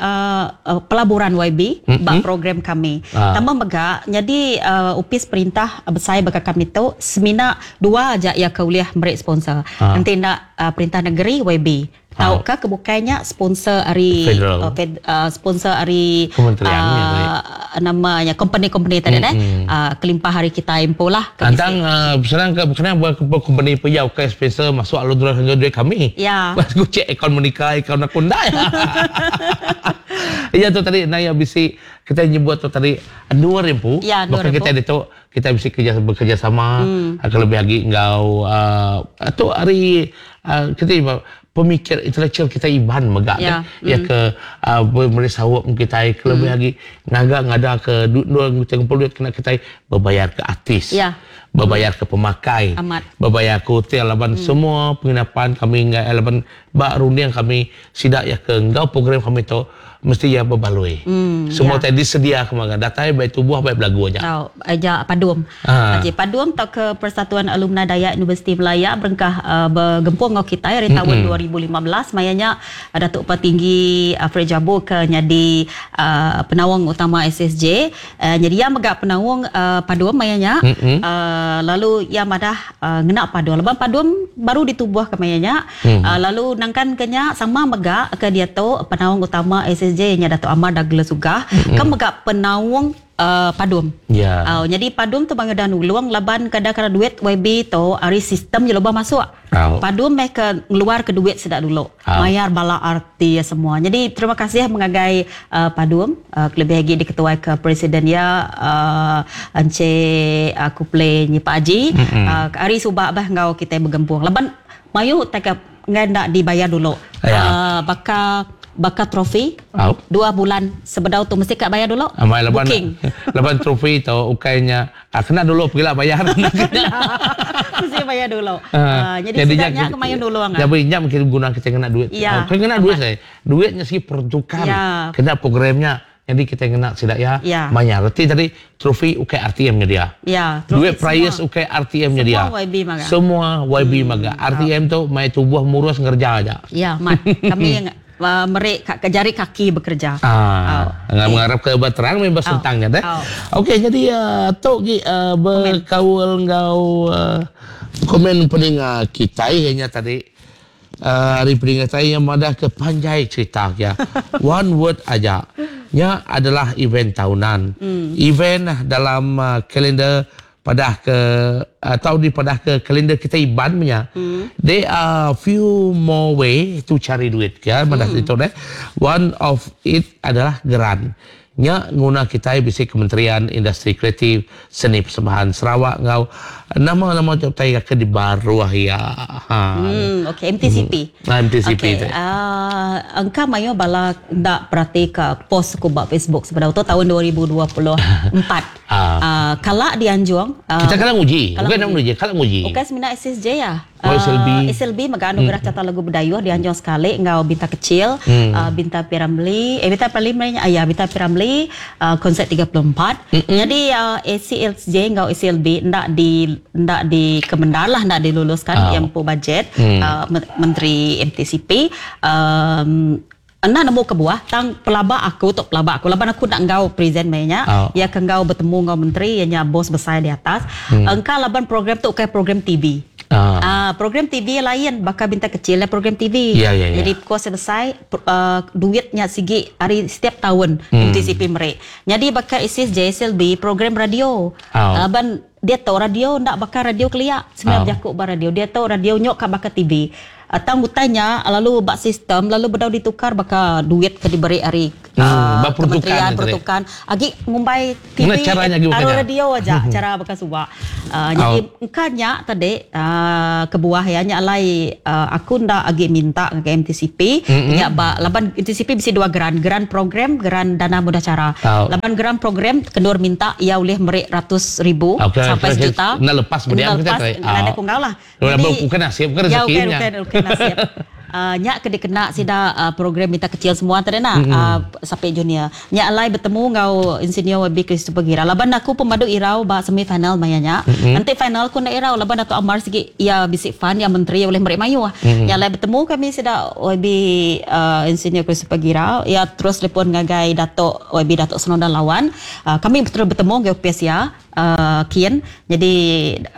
pelaburan YB bak program kami. Tambah mega jadi upis perintah besar bagi kami tu semina dua aja ya kuliah merik sponsor. Nanti nak perintah negeri YB. Tauka kebukainya sponsor ari sponsor ari kementerian namanya company-company tadi deh. Kelimpah hari kita impo lah. Tentang senang ke kena buat company pejau ke sponsor masuk alur duit kami. Ya. Pas ku cek akaun Monica, akaun aku ndak. Ya tu tadi naya bisi kita nyebut tu tadi 2000. Ya, bahkan kita itu kita bisa kerja bekerja sama lebih lagi ngau tu hari kita pemikir intelektual kita iban megak ya, ya ke merisau kita lebih lagi ngaga ngada ke duit duit kena kita berbayar ke artis ya. Berbayar ke pemakai amat. Berbayar ke hotel laban semua penginapan kami ngai laban bak runding kami sidak ya ke ngau program kami tu mesti ya berbaloi. Semua ya. Tadi sedia kemarin datai baik tubuh baik belagu aja. Tau aja Padum. Aja Padum tau ke Persatuan Alumni Dayak Universiti Malaya berengkah bergempung ngau kita dari tahun 2015 mayanya Datuk Patinggi Alfred Jabo ke nyadi penawang utama SSJ. Jadi ia megak penawang Padum mayanya lalu ia madah ngena Padum. Lepas Padum baru ditubuh ke mayanya lalu nangkan kenya sama megak ke dia tu penawang utama SSJ nya Datuk Amar Douglas Uggah ke megak penawang Padum. Yeah. Jadi Padum tu bangga dan uluang laban kadang-kadang duit YB tu ari sistem je loba masuk. Padum mereka ngeluar ke duit sedak dulu. Bayar bala arti semua. Jadi terima kasih mengagai Padum lebih lagi diketuai ke presiden ya Encik Kuple Nyi Pak Haji. Ari subak bah ngau kita bergempung. Laban mayu tak ngan dibayar dulu. Bakal bakal trofi 2 bulan sebedau tu mesti kat bayar dulu. Amai laban booking. Laban trofi tu ukainya kena dulu pergilah bayar. Mesti bayar dulu. Jadi sidaknya kemayan dulu ang. Jadi nya mungkin guna kita kena duit. Ya. Kena duit saya. Duitnya sih pertukan. Ya. Kena programnya. Jadi kita kena sidak ya. Banyak. Reti tadi trofi ukai RTM nya dia. Ya, duit prize ukai RTM nya dia. Semua YB maga. Semua YB maga. RTM tu mai tubuh murus ngerja aja. Ya, mat. Kami merik jari kaki bekerja. Nggak mengharap ke berterang memang sentangnya deh. Okey, jadi tok gi berkaul ngau komen pendengar kita hanya tadi hari pendengar saya yang madah ke panjai cerita ya. One word aja. Nya adalah event tahunan. Event dalam kalender pada ke atau di pada ke kalender kita iban punya. There are few more way to cari duit ya pada itu deh. One of it adalah geran. Nya guna kita bisi Kementerian Industri Kreatif Seni Persembahan Sarawak ngau Nama nama tu utai ke di baruh iya. Ha. Hmm, okey MTCP. Hmm. MTCP okay. tu. Uh, engka mayuh bala ndak perati ke post aku ba Facebook sebedau tu tahun 2024. uh. Uh, kala dianjung uh, kita kala nguji. Bukan nak nguji, kala nguji. Bukan semina SSJ ya. Oh, SLB. SLB mega anugerah hmm. carta lagu Bidayuh dianjung sekali enggau Bintang Kecil, hmm. Bintang P. Ramlee, eh Bintang P. Ramlee ah, ya Bintang P. Ramlee uh, konsert 34. Hmm. Jadi ACLJ enggau SLB ndak di ndak di kemendar lah ndak diluluskan oh. yang empu budget hmm. Menteri MTCP um, Enda nemu kebuah tang pelaba aku tu pelaba aku laban aku enda enggau present maya nya oh. iya ke enggau betemu enggau menteri iya nya bos besai di atas hmm. engka laban program tu ukai program TV. Ah. Uh, program TV lain baka bintang kecil lah program TV. Yeah, yeah, yeah. Jadi kos besai uh, duit nya sigi hari setiap tahun hmm. MTCP meri. Jadi baka ISIS JSLB program radio. Oh. Laban dia tahu radio ndak baka radio kelia sebenarnya oh. jaku ba radio dia tahu radio nyok ka baka TV. Tang utai nya lalu ba sistem lalu bedau ditukar baka duit ke diberi ari hmm, kementerian peruntukan agi ngumbai TV aru radio aja cara baka suba. Uh, jadi oh. engka nya tadi uh, kebuah ya nya alai uh, aku nda agi minta ngagai MTCP mm-hmm. nya ba laban MTCP bisi dua geran, geran program, geran dana mudah cara. Oh. Laban geran program kendur minta ia ulih meri ratus ribu okay, sampai sejuta. Nda lepas bediam kita. Nda lepas, nda lah. Jadi, bukan nasib, bukan ya, rezeki ya, bukan, bukan, bukan nasib. Uh, nya ke dikena sida uh, program minta kecil semua tadi nak mm-hmm. uh, sampai junior. Nya alai bertemu ngau insinyur YB Christopher Gira. Laban aku pemadu irau ba semi final maya nya. Mm-hmm. Nanti final aku nak irau laban Dato Amar sigi ya bisi fund yang menteri boleh meri mayuh. Mm-hmm. Nya alai bertemu kami sida YB uh, insinyur Christopher Gira. Ya terus telefon ngagai Dato YB Dato Snowdan Lawan. Uh, kami betul bertemu ngau PS ya. Uh, kian jadi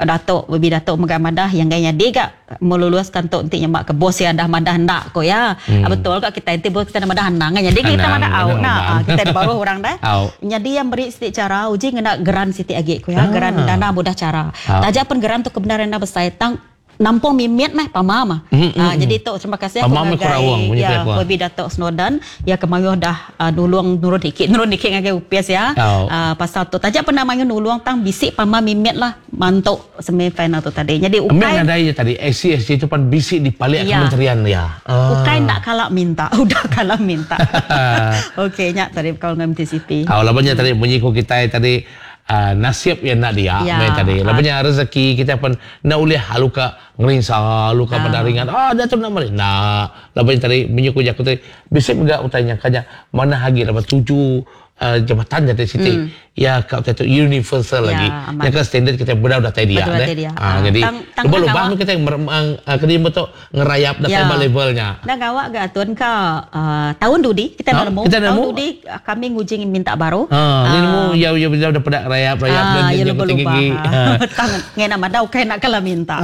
Datuk Bibi Datuk mega madah yang gaya nyadi ga meluluskan tu enti nyemak ke bos ya dah madah ndak ko ya hmm. betul ka kita enti bos kita madah anang jadi kita madah au nah ah, kita di baruh orang dah jadi yang beri siti cara uji ngena geran siti agi ko ya ah. geran dana mudah cara taja pun geran tu kebenaran dah besai tang nampung mimit meh pama mah. Mm, mm, uh, jadi tu terima kasih aku ngagai ya YB Datuk Snowdan ya kemayuh dah uh, nulung nurun dikit nurun dikit ngagai UPS ya. Oh. Uh, pasal tu taja pernah mayuh nulung tang bisik pama mimit lah mantuk semi final tu tadi. Jadi ukai Ambil ya tadi SCSC tu pan bisik di balik ya. kementerian ya. Uh. Ukai nak kalak minta, udah kalak minta. Okey nyak tadi kau dengan MTCP. Oh, labannya tadi bunyi ko kita tadi Uh, nasib yang nak dia ya. tadi. Lepas rezeki kita pun nak ulih haluka ngerinsa, haluka uh. ringan. Ah, dah tu nak mari. Nah, lepas tadi menyuku jaku tadi bisa juga utanya kanya mana hagi lepas tuju uh, jabatan jadi siti. Mm. Ya kau tu universal ya, lagi. Yang ke standard kita benar dah tadi dia. Ah, jadi lubang-lubang kita yang kena betul ngerayap dah ya. levelnya. Dah gawak ga tuan ka uh, tahun dudi kita dah nemu. Tahun dudi kami ngujing minta baru. Ha, ni nemu ya ya dah pada rayap-rayap dan ya, yang tinggi. Tang ngena madau kai nak kala minta.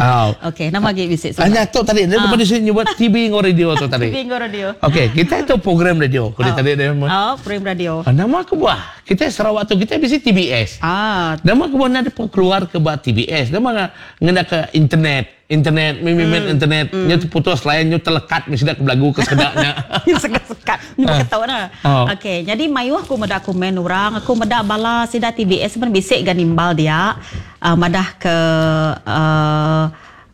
Okey, nama lagi bisik. Hanya tu tadi dia depan sini nyebut TV nggo radio tu tadi. TV nggo radio. Okey, kita itu program radio. Kau tadi dia. Oh, program radio. Nama aku buah. Kita Sarawak tu kita bisi TBS. Ah. Nama aku buah nak keluar ke buat TBS. Nama ngena ke internet. Internet, mimimin mm. internet. Mm. Nya putus lain nya terlekat mesti dak belagu ke sedaknya. Sekat-sekat. Nya ketawa nah. Oh. Okey, jadi mayuh aku medak komen orang, aku medak bala sida TBS pun bisik ga nimbal dia. Uh, madah ke uh,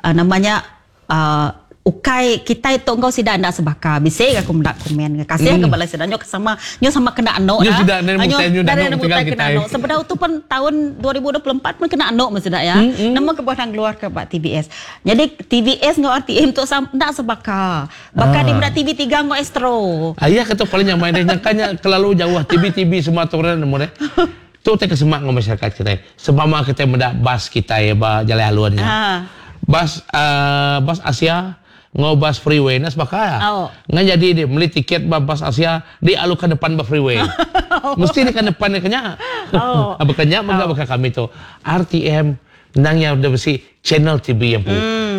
uh, namanya uh, ukai kita itu engkau sida ndak sebaka bisik aku mendak komen kasih ke bala sida nyo sama nyo sama kena ano nyo sida nyo nyo tinggal kita sebenarnya tu pun tahun 2024 pun kena ano mesti ya nama kebuah nang keluar ke bak TBS jadi TBS ngau RTM tu ndak sebaka bakal di mendak TV3 ngau Astro ayah kata paling nyaman deh nyangkanya terlalu jauh TV TV semua turun nemu deh tu tak kesemak ngau masyarakat kita sebama kita mendak bas kita ya ba jalan haluannya bas bas Asia ngau bas freeway nas bakal. Oh. Ngan jadi dia beli tiket bas Asia di alukan depan bas freeway. Mesti di kan depan dia kenya. Oh. Apa kenya mengapa oh. kami tu RTM nang yang dah besi channel TV yang pu.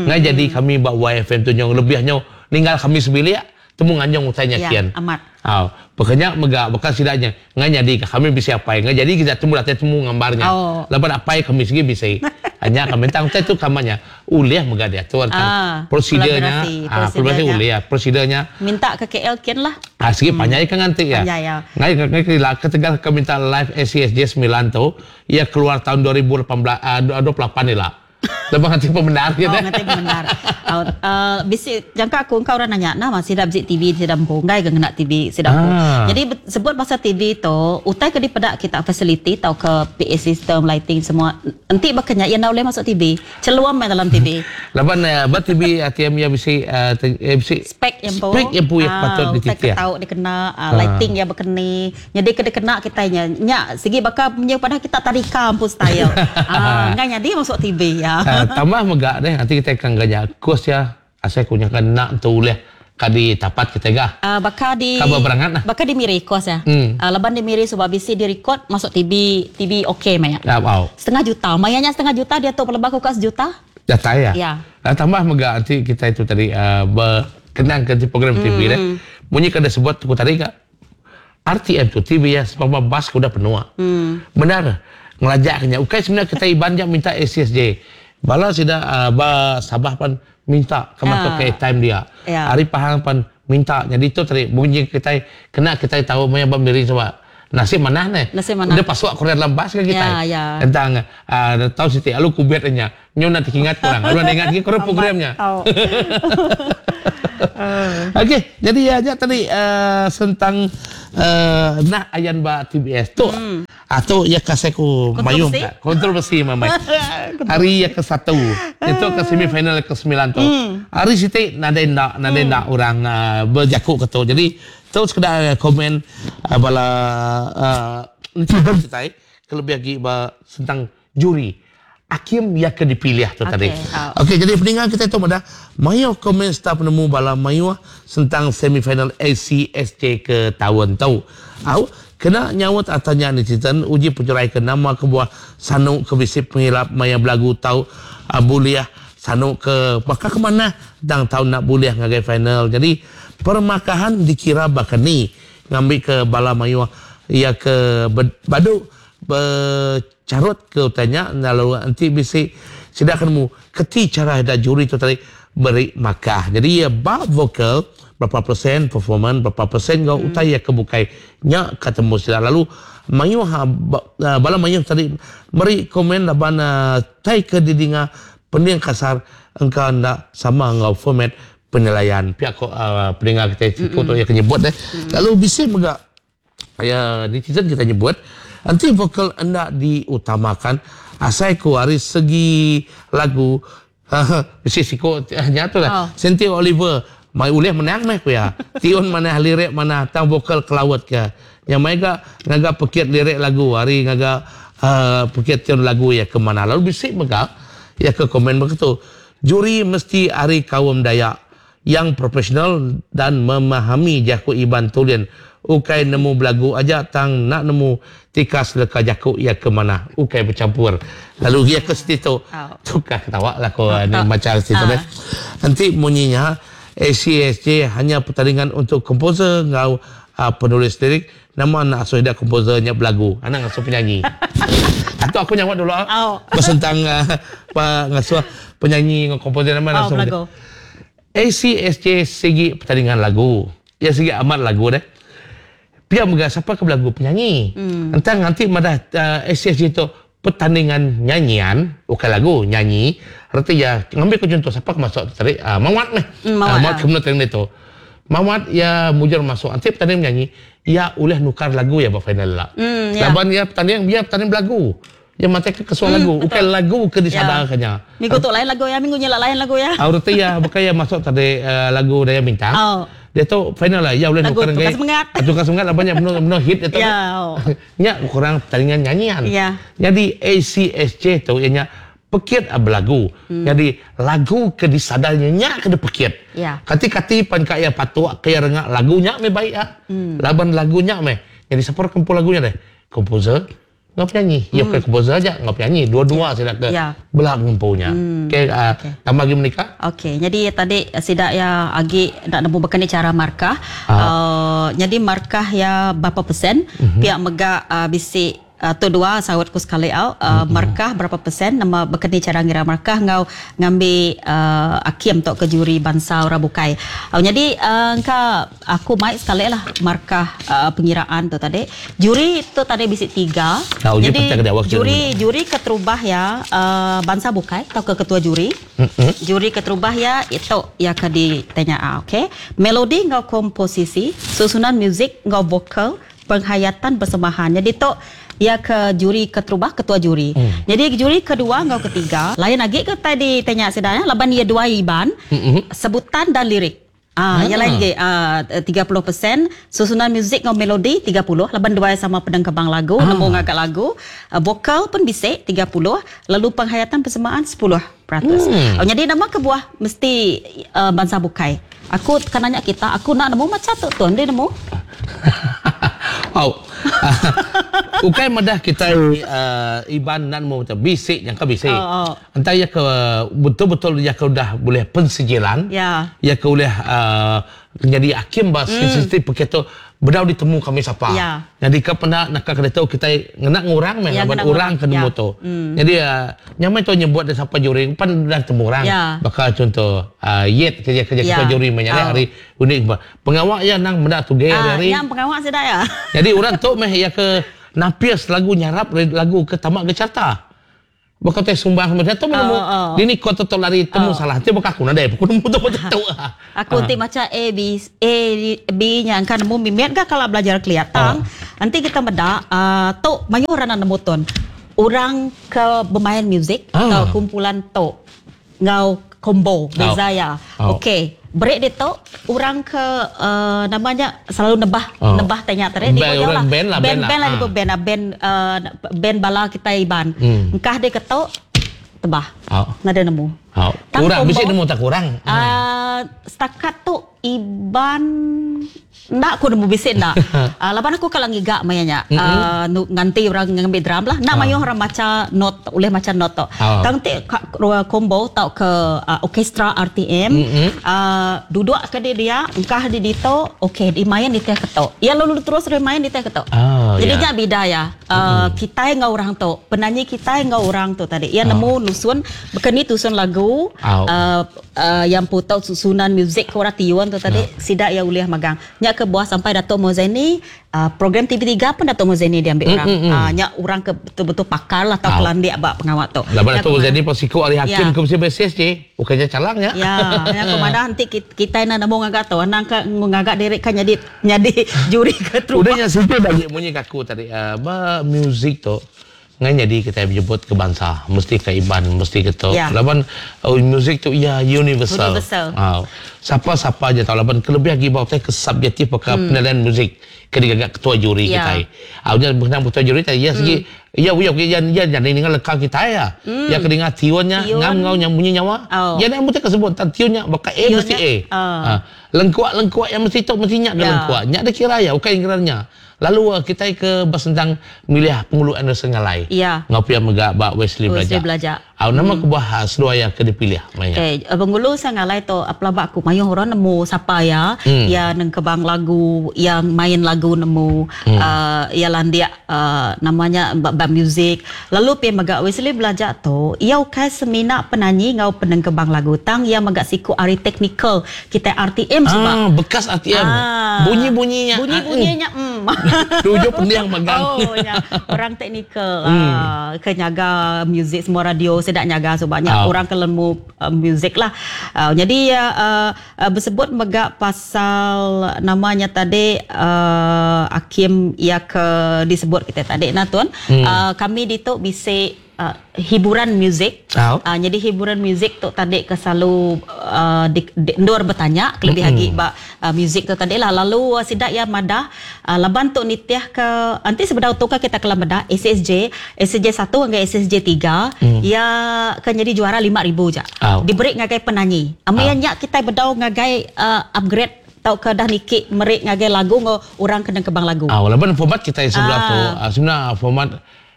Ngan jadi kami bak YFM tu nyong lebihnya ninggal kami sebilik temu nganjong utanya ya, kian. Amat. Oh, pokoknya mega bekas sidaknya ngan jadi kami bisa apa ngan jadi kita temu latih temu gambarnya. Oh. Lepas apa kami segi bisa. Hanya kami tang tu kamanya uliah mega dia tu prosedurnya prosedurnya uliah prosedurnya minta ke KL kian lah. Ah segi panjang kan nanti ya. Panjang ya. Ngai ngai ketegal kami minta live SCSJ 9 tu ia keluar tahun 2018 28 ni lah. Lebuh nganti pemendar ke Oh, nganti pemendar. Uh, uh, bisi jangka aku engkau orang nanya nama sida bisi TV sida empu enggai ke ngena TV sida empu. Ah. Jadi sebut pasal TV tu utai ke dipeda kita facility tauka PA system lighting semua enti baka nya iya enda ulih masuk TV. Chelum meh dalam TV. Laban ba TV ATM iya bisi bisi spek iya empu. Spek iya empu iya patut dititih. Utai ke tau dikena lighting iya bekeni. Nyadi ke dikena kitai nya nya sigi baka munyi padah kita tadika empu style. Enggai nyadi masuk TV. Tambah mega deh enti kitai ke enggai nya kus iya asai ku nyangka enda entu ulih ka ditapat kitai ga. Baka di Ka beberangat lah. Baka di Miri kos iya. Laban di Miri suba bisi direkod masuk TV TV ok maya. Setengah juta. Maya nya setengah juta diatu peleba ku ka sejuta. Datai iya. Tambah mega enti kitai tu tadi bekenang ke program TV deh. Munyi ke disebut ku tadi ga. RTM tu TV iya sempama bas ke udah penuh. Bendar ngelajak ke nya. Ukai semina kitai Iban ja minta ACSJ. Bala sida ba Sabah pan minta ke masuk ke airtime dia. Ari Pahang pan minta. Nyadi tu tadi bunyi kitai kena kitai tau maya ba Miri suba. Nasib manah neh. Udah pasuk ku dalam bas ga kitai. Tentang tau siti alu kubit nya. Nyu enda tekingat ku orang. Lalu enda ingat agi ku orang program nya. Okey, jadi ya nya tadi uh, sentang uh, nah ayan ba TBS tu. Hmm. Ah tu ya kasih ku mayung ka. Kontroversi mamai. Hari ya ke satu. Itu ke semifinal ke sembilan tu. Hmm. Hari siti nadai ndak nadai hmm. ndak orang uh, berjaku ke tu. Jadi tu sekedar komen uh, bala uh, netizen kitai kelebih agi ba sentang juri akim iya ke dipilih tu tadi. Okey jadi peninga kitai tu madah mayuh komen serta penemu bala mayuh sentang semifinal ACSJ ke taun tu. Au kena nyaut atau nya netizen uji pejurai ke nama kebuah sanu ke bisi pengilap maya belagu tau bulih sanu ke baka ke manah tang tau enda bulih ngagai final. Jadi permakahan dikira baka ni ngambika bala mayuh iya ke badu Becharut ke utai nya lalu enti bisi sida ke nemu keti chara ida juri tu tadi beri makah. Jadi iya ba vokal berapa persen performan berapa persen enggau utai iya ke bukai nya ka temu sida lalu mayuh bala mayuh tadi meri komen laban tai ke didinga pending kasar engka enda sama enggau format penilaian pia ko peninga kitai siku tu iya ke nyebut deh. Lalu bisi mega Iya netizen kita nyebut enti vokal enda diutamakan asai ku ari segi lagu bisi siku nya tu lah Senti Oliver mai ulih menang meh ku iya tiun manah lirik manah tang vokal kelaut ke nya mai ga ngaga pekit lirik lagu ari ngaga pekit tiun lagu iya ke manah lalu bisi mega iya ke komen baka tu juri mesti ari kaum Dayak Yang profesional dan memahami jaku Iban tulin ukai nemu belagu aja tang enda nemu tikas leka jaku iya ke manah ukai bechampur lalu iya ke siti tu tukar ketawa lah ko ni macha siti tu deh enti munyi nya ACSJ hanya pertandingan untuk komposer enggau penulis lirik nama enda asuh ida komposer nya belagu anang ngasuh penyanyi atuk aku nyawa dulu besentang ngasuh penyanyi enggau komposer nama enda asuh ACSJ sigi pertandingan lagu. Iya sigi amat lagu deh. Pia mega sapa ke belagu penyanyi. Entang nganti madah ACSJ tu pertandingan nyanyian ukai lagu nyanyi reti iya ngambi ke chunto sapa ke masuk tu tadi uhh Mawat meh. Mawat ke menu tadi tu. Mawat iya mujur masuk enti pertandingan menyanyi iya ulih nukar lagu iya ba final ila. Laban iya pertanding iya pertanding belagu. Iya matai ke kesuah lagu, ukai lagu ke disadarka nya. Minggu tu lain lagu iya, minggu nyila lain lagu iya. Au reti iya baka iya masuk tadi lagu Daya Bintang. Diatu final lah iya ulih nukar enggai. Lagu Tukar Semengat. Tukar Semengat laban nya menu menu hit diatu. Nya kurang pertandingan nyanyian. Nyadi ACSJ tu iya nya pekit belagu. Nyadi lagu ke disadar nya nya ke dipekit. Kati kati pan ka iya patuk ka iya renga lagu nya meh baik ah. Laban lagu nya meh. Nyadi sapa orang ke empu lagu nya deh? Komposer. Enggau penyanyi. Iya bukan komposer aja, enggau penyanyi. Dua-dua sida ke bela ngempu nya. Okey, tambah agi menika. Okey, nyadi tadi sida iya agi enda nemu baka ni chara markah. Nyadi markah iya berapa persen, pia mega bisi. Tu dua saut ku sekali au. Markah berapa persen nama baka ni chara ngira markah enggau ngambi akim tauka juri bansa orang bukai. Au nyadi engka aku mai sekali lah markah pengiraan tu tadi. Juri tu tadi bisi tiga. Nyadi juri juri keterubah iya bansa bukai tauka ketua juri. Juri keterubah iya itu iya ke ditanya ok. Melodi enggau komposisi, susunan muzik enggau vokal Penghayatan persembahan. Nyadi tu iya ke juri keterubah ketua juri. Nyadi juri kedua enggau ketiga lain agi ke utai ditanya sida nya laban iya dua Iban, sebutan dan lirik. Aa iya lain agi aa 30% susunan muzik enggau melodi 30 laban dua iya sama penengkebang lagu nemu ngaga lagu. Vokal pun bisi 30 lalu penghayatan persembahan 10%. Nyadi nama kebuah mesti bansa bukai. Aku ka nanya kita, aku enda nemu macha tu tun, dih nemu? Au. Ukai madah kitai Iban enda nemu macha, bisi nyangka bisi. Enta iya ke betul-betul iya ke udah bulih pensijilan, iya ke ulih nyadi akim ba siti-siti pekit tu bedau ditemu kami sapa. Nyadi ke penda naka ke ditu kitai ngena ngurang meh laban orang ke nemu tu. Nyadi nya meh tu nyebut da sapa juri pan udah ditemu orang. Baka chunto Yet ke kerja ketua juri meh nya ari undi pengawa iya endang meda tuge hari-hari. Nyadi orang tu meh iya ke napis lagu nyarap lagu ke tama ke carta. Baka utai sumbang meh tu meh nemu. Dini ko tu lari temu salah ti baka aku nadai ku nemu tu tu. Aku ti macha A B A B nya engka nemu mimit ga kala belajar kelia tang enti kita meda uhh tu mayuh orang enda nemu tun. Orang ke bemain muzik atau kumpulan tu enggau combo beza iya. Okey beri ditu orang ke uhh nama nya selalu nebah nebah tai nya tadi band orang band lah band band lah nyebut band band uhh band bala kitai Iban. Engkah deh ketu tebah nadai nemu. Tang kurang bisi nemu tak kurang. Uhh setakat tu Iban enda ku nemu bisi enda. Laban aku kala ngiga maya nya nganti orang ngambi drum lah. Enda mayuh orang macha note ulih macha note tu. Tang ti combo tauka orkestra RTM duduk ke di dia engkah di ditu okey dimain nitih ke tu. Iya lalu terus main nitih ke tu. Jadi nya bida iya kitai enggau orang tu penanyi kitai enggau orang tu tadi. Iya nemu nusun baka ni tusun lagu. Iya empu tau susunan muzik ke orang tiun tu tadi sida iya ulih magang. Nya ke buah sampai Dato Mozaini program TV3 pun Dato Mozaini diambi orang. Nya orang ke betul-betul pakar lah tau kelandik ba pengawa tu. Laban Dato Mozaini pun siku ari hakim ke bisi besis ji. Ukai nya calang nya. Ya, nya ku madah enti kitai enda nemu ngaga tu anang ka ngaga diri ka nyadi nyadi juri ke terubah. Udah nya siti agi munyi ka aku tadi ba muzik tu. Ngai nyadi kitai bejebut ke bansa mesti ke Iban mesti ke tu laban muzik tu iya universal. Sapa sapa aja tau laban kelebih agi ba utai ke subjektif baka penilaian muzik ke digaga ketua juri kitai. Nya benang ketua juri tadi iya sigi iya uya iya nyadi ninga leka kitai iya. Iya ke ninga tiun nya ngam enggau munyi nyawa. Iya enda mesti ke sebut tang tiun nya baka A mesti A. Lengkuak lengkuak iya mesti tu mesti nya ke lengkuak. Nya dikira iya ukai kira nya. Lalu kitai ke besentang milih Pengulu Anderson Ngalai enggau pia mega ba Wesley Belaja. Au nama kebuah seduai iya ke dipilih maya nya? Okey, Pengulu Ngalai tu pelaba aku mayuh orang nemu sapa iya. Iya nengkebang lagu, iya main lagu nemu, iya landik nama nya ba muzik. Lalu pia mega Wesley Belaja tu iya ukai semina penanyi enggau penengkebang lagu tang iya mega siku ari teknikal Kitai RTM suba. Ah, bekas RTM. Ah. Bunyi-bunyi nya. Bunyi-bunyi nya. Mm. Tuju pending megang. Oh, nya. Orang teknikal hmm. ah, ke nyaga muzik semua radio sida nyaga suba nya. Oh. Orang ke lemu uh, muzik lah. Uh, jadi uh, uh, bersebut mega pasal namanya tadi uh, Akim ya ke disebut kita tadi nah tuan. Hmm. Uh, kami ditu bisi hiburan muzik. Oh. Nyadi hiburan muzik tu tadi ke selalu uh, di, di, endur betanya kelebih mm-hmm. agi ba uh, muzik tu tadi lah. Lalu uh, sida iya madah uh, laban tu nitih ke anti sebedau tu ka kita kala meda SSJ, SSJ 1 enggau SSJ 3 mm. iya ke nyadi juara 5000 ja. Oh. Diberi ngagai penanyi. Amai oh. nya kita bedau ngagai uh, upgrade tauka dah niki meri ngagai lagu enggau orang ke nengkebang lagu. Oh, laban format kita sebelah ah. tu uh, sebenarnya format.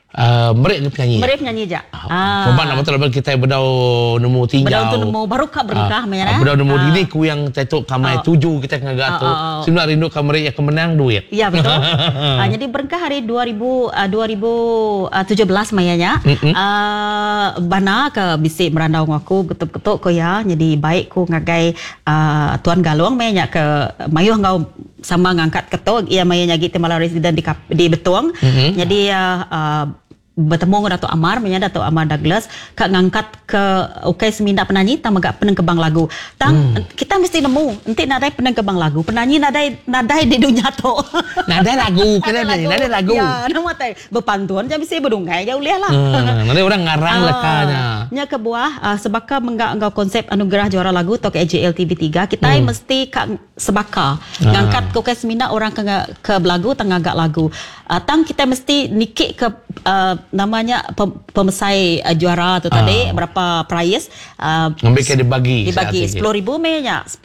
Uh, meri ke penyanyi. Meri penyanyi ja. Ah. Sebab nama tu laban kita bedau nemu tinjau. Bedau tu nemu baru ka berengkah meh ya. Bedau nemu ah. dini ku yang tetuk kamai oh. tuju kita ngaga oh, tu. Oh, oh. Semina rindu ka meri ya ke menang duit. Ya betul. uh, jadi berengkah hari 2000 uh, 2017 maya nya. Mm -hmm. uh, bana ke bisi merandau aku ketuk-ketuk ko ya. Jadi baik ku ngagai uh, Tuan Galong meh nya ke mayuh ngau sama ngangkat ketu iya maya nyagi ti malam residen di di Betong. Mm -hmm. Jadi uh, betemu dengan Datuk Amar menya Datuk Amar Douglas ka ngangkat ke ukai semina penanyi tang mega penengkebang lagu. Tang mm. kita mesti nemu enti nadai penengkebang lagu, penanyi nadai nadai di dunya tu. Nadai lagu kena lagu. Nadai lagu. Ya, nama tai bepantun ja bisi bedungai ja ulih lah. Hmm, nadai orang ngarang uh, lekanya. Nya kebuah uh, sebaka mengga enggau konsep anugerah juara lagu tau ke AJL TV3 kita hmm. mesti ka sebaka. Ah. Ngangkat ke ukai semina orang ke ke belagu tang ngaga lagu. Uh, tang kita mesti nikik ke uh, namanya pemesai uh, juara tu tadi uh. berapa prize uh, ngambil ke dibagi dibagi 10,000 meh nya 10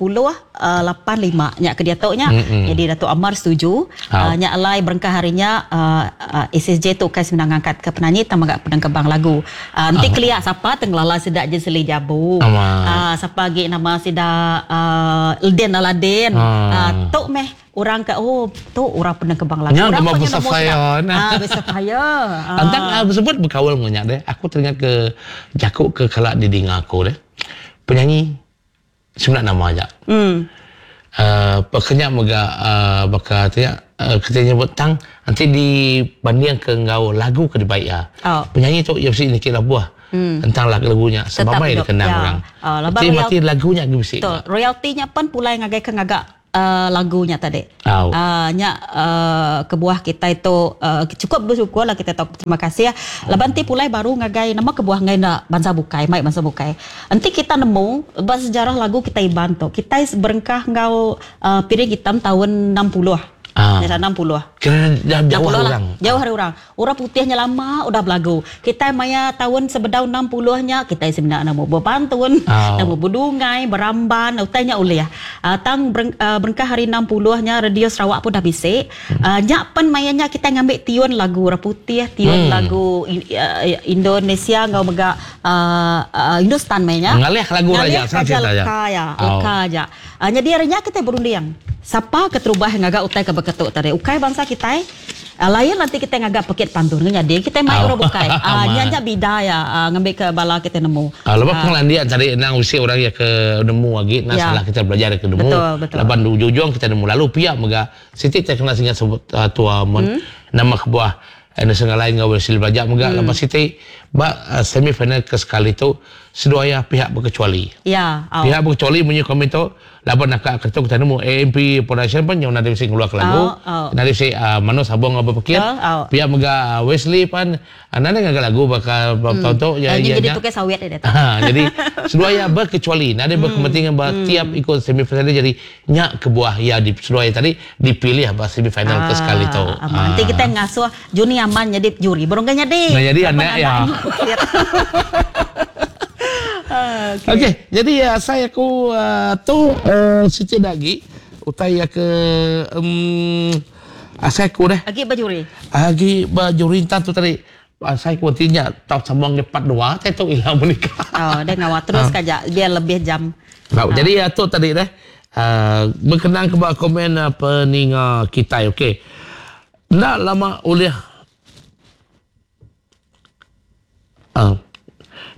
uh, 8 5 nya ke diatu nya. Mm-hmm. Jadi Datuk Amar setuju. Uh, nya alai berengkah hari nya uh, uh, SSJ tu ukai semina ngangkat ke penyanyi tang mega penengkebang lagu. Uh, enti uh. kelia sapa tengelala sida Jenseli Jabu. Uh, sapa agi nama sida uh, Elden Aladin. Uh. Uh, tu meh orang ke oh tu orang penengkebang lagu. Nya nama besar fire. Ah besar fire. Ah. Antang uh, bersebut berkawal ngunyak deh. Aku teringat ke jakuk ke kelak didinga aku deh. Penyanyi Semina nama aja. Hmm. Uh, pekenya mega uh, baka tu ya uh, kita nyebut tang nanti dibanding ke enggau lagu ke dibaik ya. Oh. Penyanyi tu ya mesti nikit labuh. Hmm. Tentang lagu lagunya sebab mai dikenang ya. orang. Oh, mati mati lagunya ge bisi. Betul. Royaltinya pun pulai ngagai ke ngagak uh, lagunya tadi. Oh. Uh, nya uh, kebuah kita itu uh, cukup bersyukur lah kita tahu terima kasih ya. Laban ti pulai baru ngagai nama kebuah ngai nak bangsa bukai, mai bangsa bukai. Enti kita nemu ba sejarah lagu kita Iban tu, kita berengkah ngau uh, piring hitam tahun 60. Ah. Nya 60. Kira jauh hari lah. orang. Jauh hari orang. Orang putihnya lama udah belagu. Kita maya tahun sebedau 60 nya kita sebenarnya nemu berpantun, oh. nemu berdungai, beramban, utainya ulih. Uh, tang bereng, uh, berengkah hari 60 nya Radio Sarawak pun dah bisi. Hmm. Uh, nya pen maya nya kita ngambil tiun lagu orang putih, tiun hmm. lagu uh, Indonesia ngau mega uh, uh, Hindustan maya nya. Ngalih lagu raja, cerita ya. Leka ya, leka oh. aja. Uh, jadi hari nya kita berunding. Sapa keterubah ngaga utai ke beketuk tadi? Ukai bangsa kitai. Uh, lain nanti kita ngaga pekit pantun nyadi kita mai oh. orang bukai. Uh, nya nya bida ya uh, ngambil ke bala kita nemu. Uh, lepas uh, pengelandian tadi nang usi orang ya ke nemu lagi nah ya. salah kita belajar ke nemu. Betul, betul. Laban ujung-ujung kita nemu lalu pihak mega siti tak kena singa sebut uh, tua mun hmm. nama kebuah Anderson lain ngau Wesley belajar mega hmm. lepas siti ba uh, semi final ke sekali tu seduaya pihak berkecuali. Ya. Oh. Pihak berkecuali munyi komen tu laban nak ketuk kita nemu AMP Production pun yang nanti mesti keluar ke lagu. Oh, oh. Nanti mesti uh, Mano sabung apa pekit. Oh, oh. Pihak mega uh, Wesley pun uh, nanti ngaga lagu bakal hmm. tahun tu ya ya. Jadi tukar sawit dia tu. Ha, jadi seduaya berkecuali. Nanti hmm. berkepentingan hmm. tiap ikut semi final jadi nyak kebuah ya di seduaya tadi dipilih bah semi final ah, ke sekali tu. Ah. Nanti kita ngasuh Juni aman jadi juri. Burung kan jadi. Nah, jadi anak ya. Okey, okay, jadi uh, saya aku uh, tu uh, sikit lagi utai ya ke um, asai aku dah. Agi bajuri. Agi bajuri entan tu tadi. Asai aku tinya tau sambung ke part 2 saya tu ilang menikah. Oh, dia ngawat terus uh. kaja biar lebih jam. Uh. Jadi ya tu tadi dah. Uh, berkenaan ke komen uh, peninga kita okey. Ndak lama oleh uh,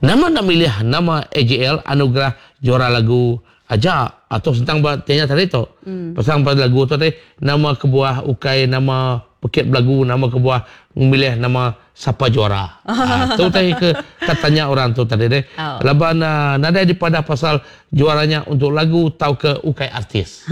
nama nak milih nama AJL Anugerah Juara Lagu aja atau tentang tanya tadi tu. Hmm. Pasal pada lagu tu tadi nama kebuah ukai nama pekit lagu nama kebuah memilih nama siapa juara. Ha, tu tadi ke katanya orang tu tadi deh. Oh. Laban uh, nadai dipadah pasal juaranya untuk lagu tau ke ukai artis.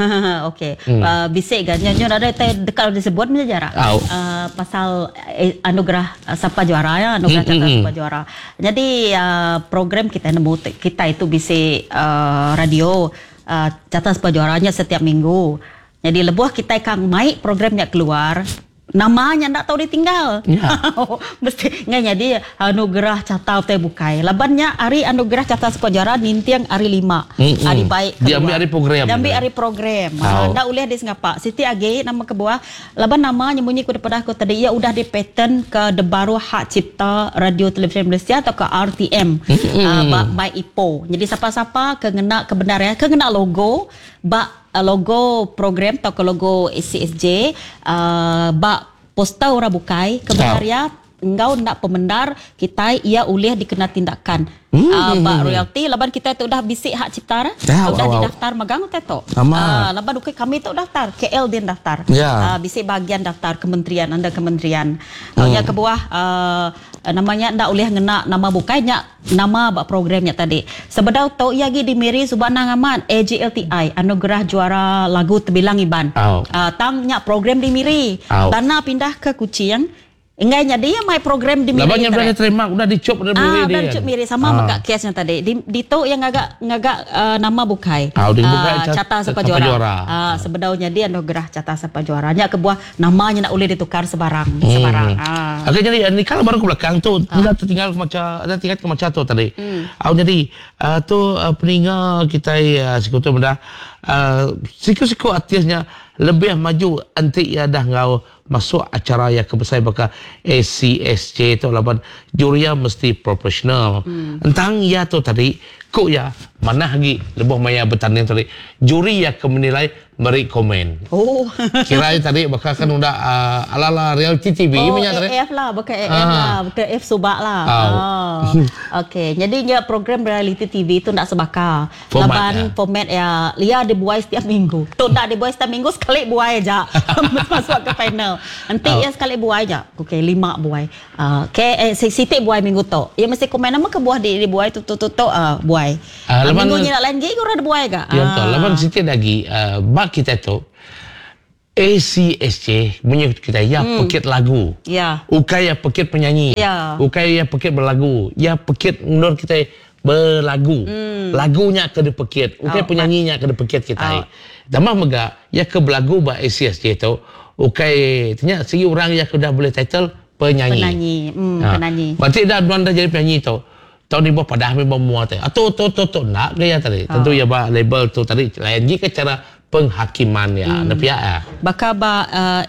Okey. Hmm. Uh, bisik kan nyo nadai te dekat disebut macam jarak. Oh. Uh, pasal eh, anugerah uh, siapa juara ya, anugerah hmm, hmm, siapa juara. Jadi uh, program kita nemu kita itu bisik uh, radio uh, catat siapa juaranya setiap minggu. Jadi lebuh kita kang mai programnya keluar. Nama nya enda tau ditinggal. Ya. Mesti ngai nyadi anugerah carta utai bukai. Laban nya ari anugerah carta Sepa Juara ninting hari lima. Mm-mm. Hari baik keluar. Diambil ari program. Diambil ari program. Ha, enda ulih disengapa. Siti agi nama kebuah laban nama nya munyi ku dipadah ku tadi iya udah dipaten ke debaruh hak cipta Radio Televisyen Malaysia tauka RTM uh, ba My Ipo. Jadi sapa-sapa ke ngena ke bendar ya ke ngena logo ba Logo program tauka logo ACSJ ba poster orang bukai ke bendar iya enggau enda pemendar kitai iya ulih dikena tindakan ba royalti laban kitai tu udah bisi hak cipta re udah didaftar megang utai tu laban ukai kami tu daftar KL din daftar bisi bahagian daftar kementerian under kementerian nya kebuah nama nya enda ulih ngena nama bukai nya Nama ba program nya tadi. Sebedau tu iya agi di Miri suba anang amat AJLTI, Anugerah Juara Lagu Tebilang Iban. Au. Tang nya program di Miri. Au. Dana pindah ke Kuching. Enggai nyadi iya mai program di Miri. Laban nya udah diterima udah dichop dari Miri. Ah, udah dichop Miri sama ah. mega kes nya tadi. Di ditu iya ngaga ngaga uh, nama bukai. Ah, uh, bukai Carta Sapa Juara. Juara. Ah, sebedau nyadi Anugerah Carta Sapa Juara. Nya kebuah Nama nya enda ulih ditukar sebarang sebarang. Ah. Okey jadi ni kalau baru ke belakang tu ah. enda tertinggal ke macha enda tinggal ke macha tu tadi. Au jadi uh, tu uh, peninga kitai uh, siku tu meda uh, siku-siku artis nya lebih maju enti iya dah enggau masuk acara iya ke besai baka ACSJ tu laban juri iya mesti profesional. Entang iya tu tadi ku iya manah agi lebuh maya betanding tadi juri iya ke menilai Meri komen. Oh. Kira tadi baka kan udah uh, ala-ala reality TV oh, punya tadi. AF lah, bukan AF ah. lah, bukan AF subak lah. Oh. Oh. Okey, jadi nya program reality TV tu ndak sebaka. Format Laban ya. format ya, lia dibuai setiap minggu. Tu ndak dibuai setiap minggu sekali buai aja. Masuk ke final. Enti Oh. ya sekali buai aja. Okey, lima buai. Uh, okay, eh, siti buai minggu tu. Ya mesti komen nama kebuah di dibuai tu tu tu tu uh, buai. Ah, Uh, laban minggu nya lain lagi orang dibuai ga. Ya betul. Ah. Laban siti lagi uh, bak kita tu ACSJ munyi kita ya pekit lagu. Ya. Ukai ya pekit penyanyi. Ya. Ukai ya pekit berlagu. Ya pekit endur kita berlagu. Lagunya ke dipekit. Ukai Oh, penyanyinya ke dipekit kita. Oh. Tambah mega ya ke berlagu ba ACSJ tu ukai tanya sigi orang ya ke udah boleh title penyanyi. Penyanyi. Ha. Penyanyi. Berarti dah tuan dah jadi penyanyi tu. Tau ni buah padah memang mua tadi. Atau tu tu tu nak gaya tadi. Tentu ya ba label tu tadi lain lagi ke cara penghakiman ya. Hmm. Pihak ya. Baka ba uh,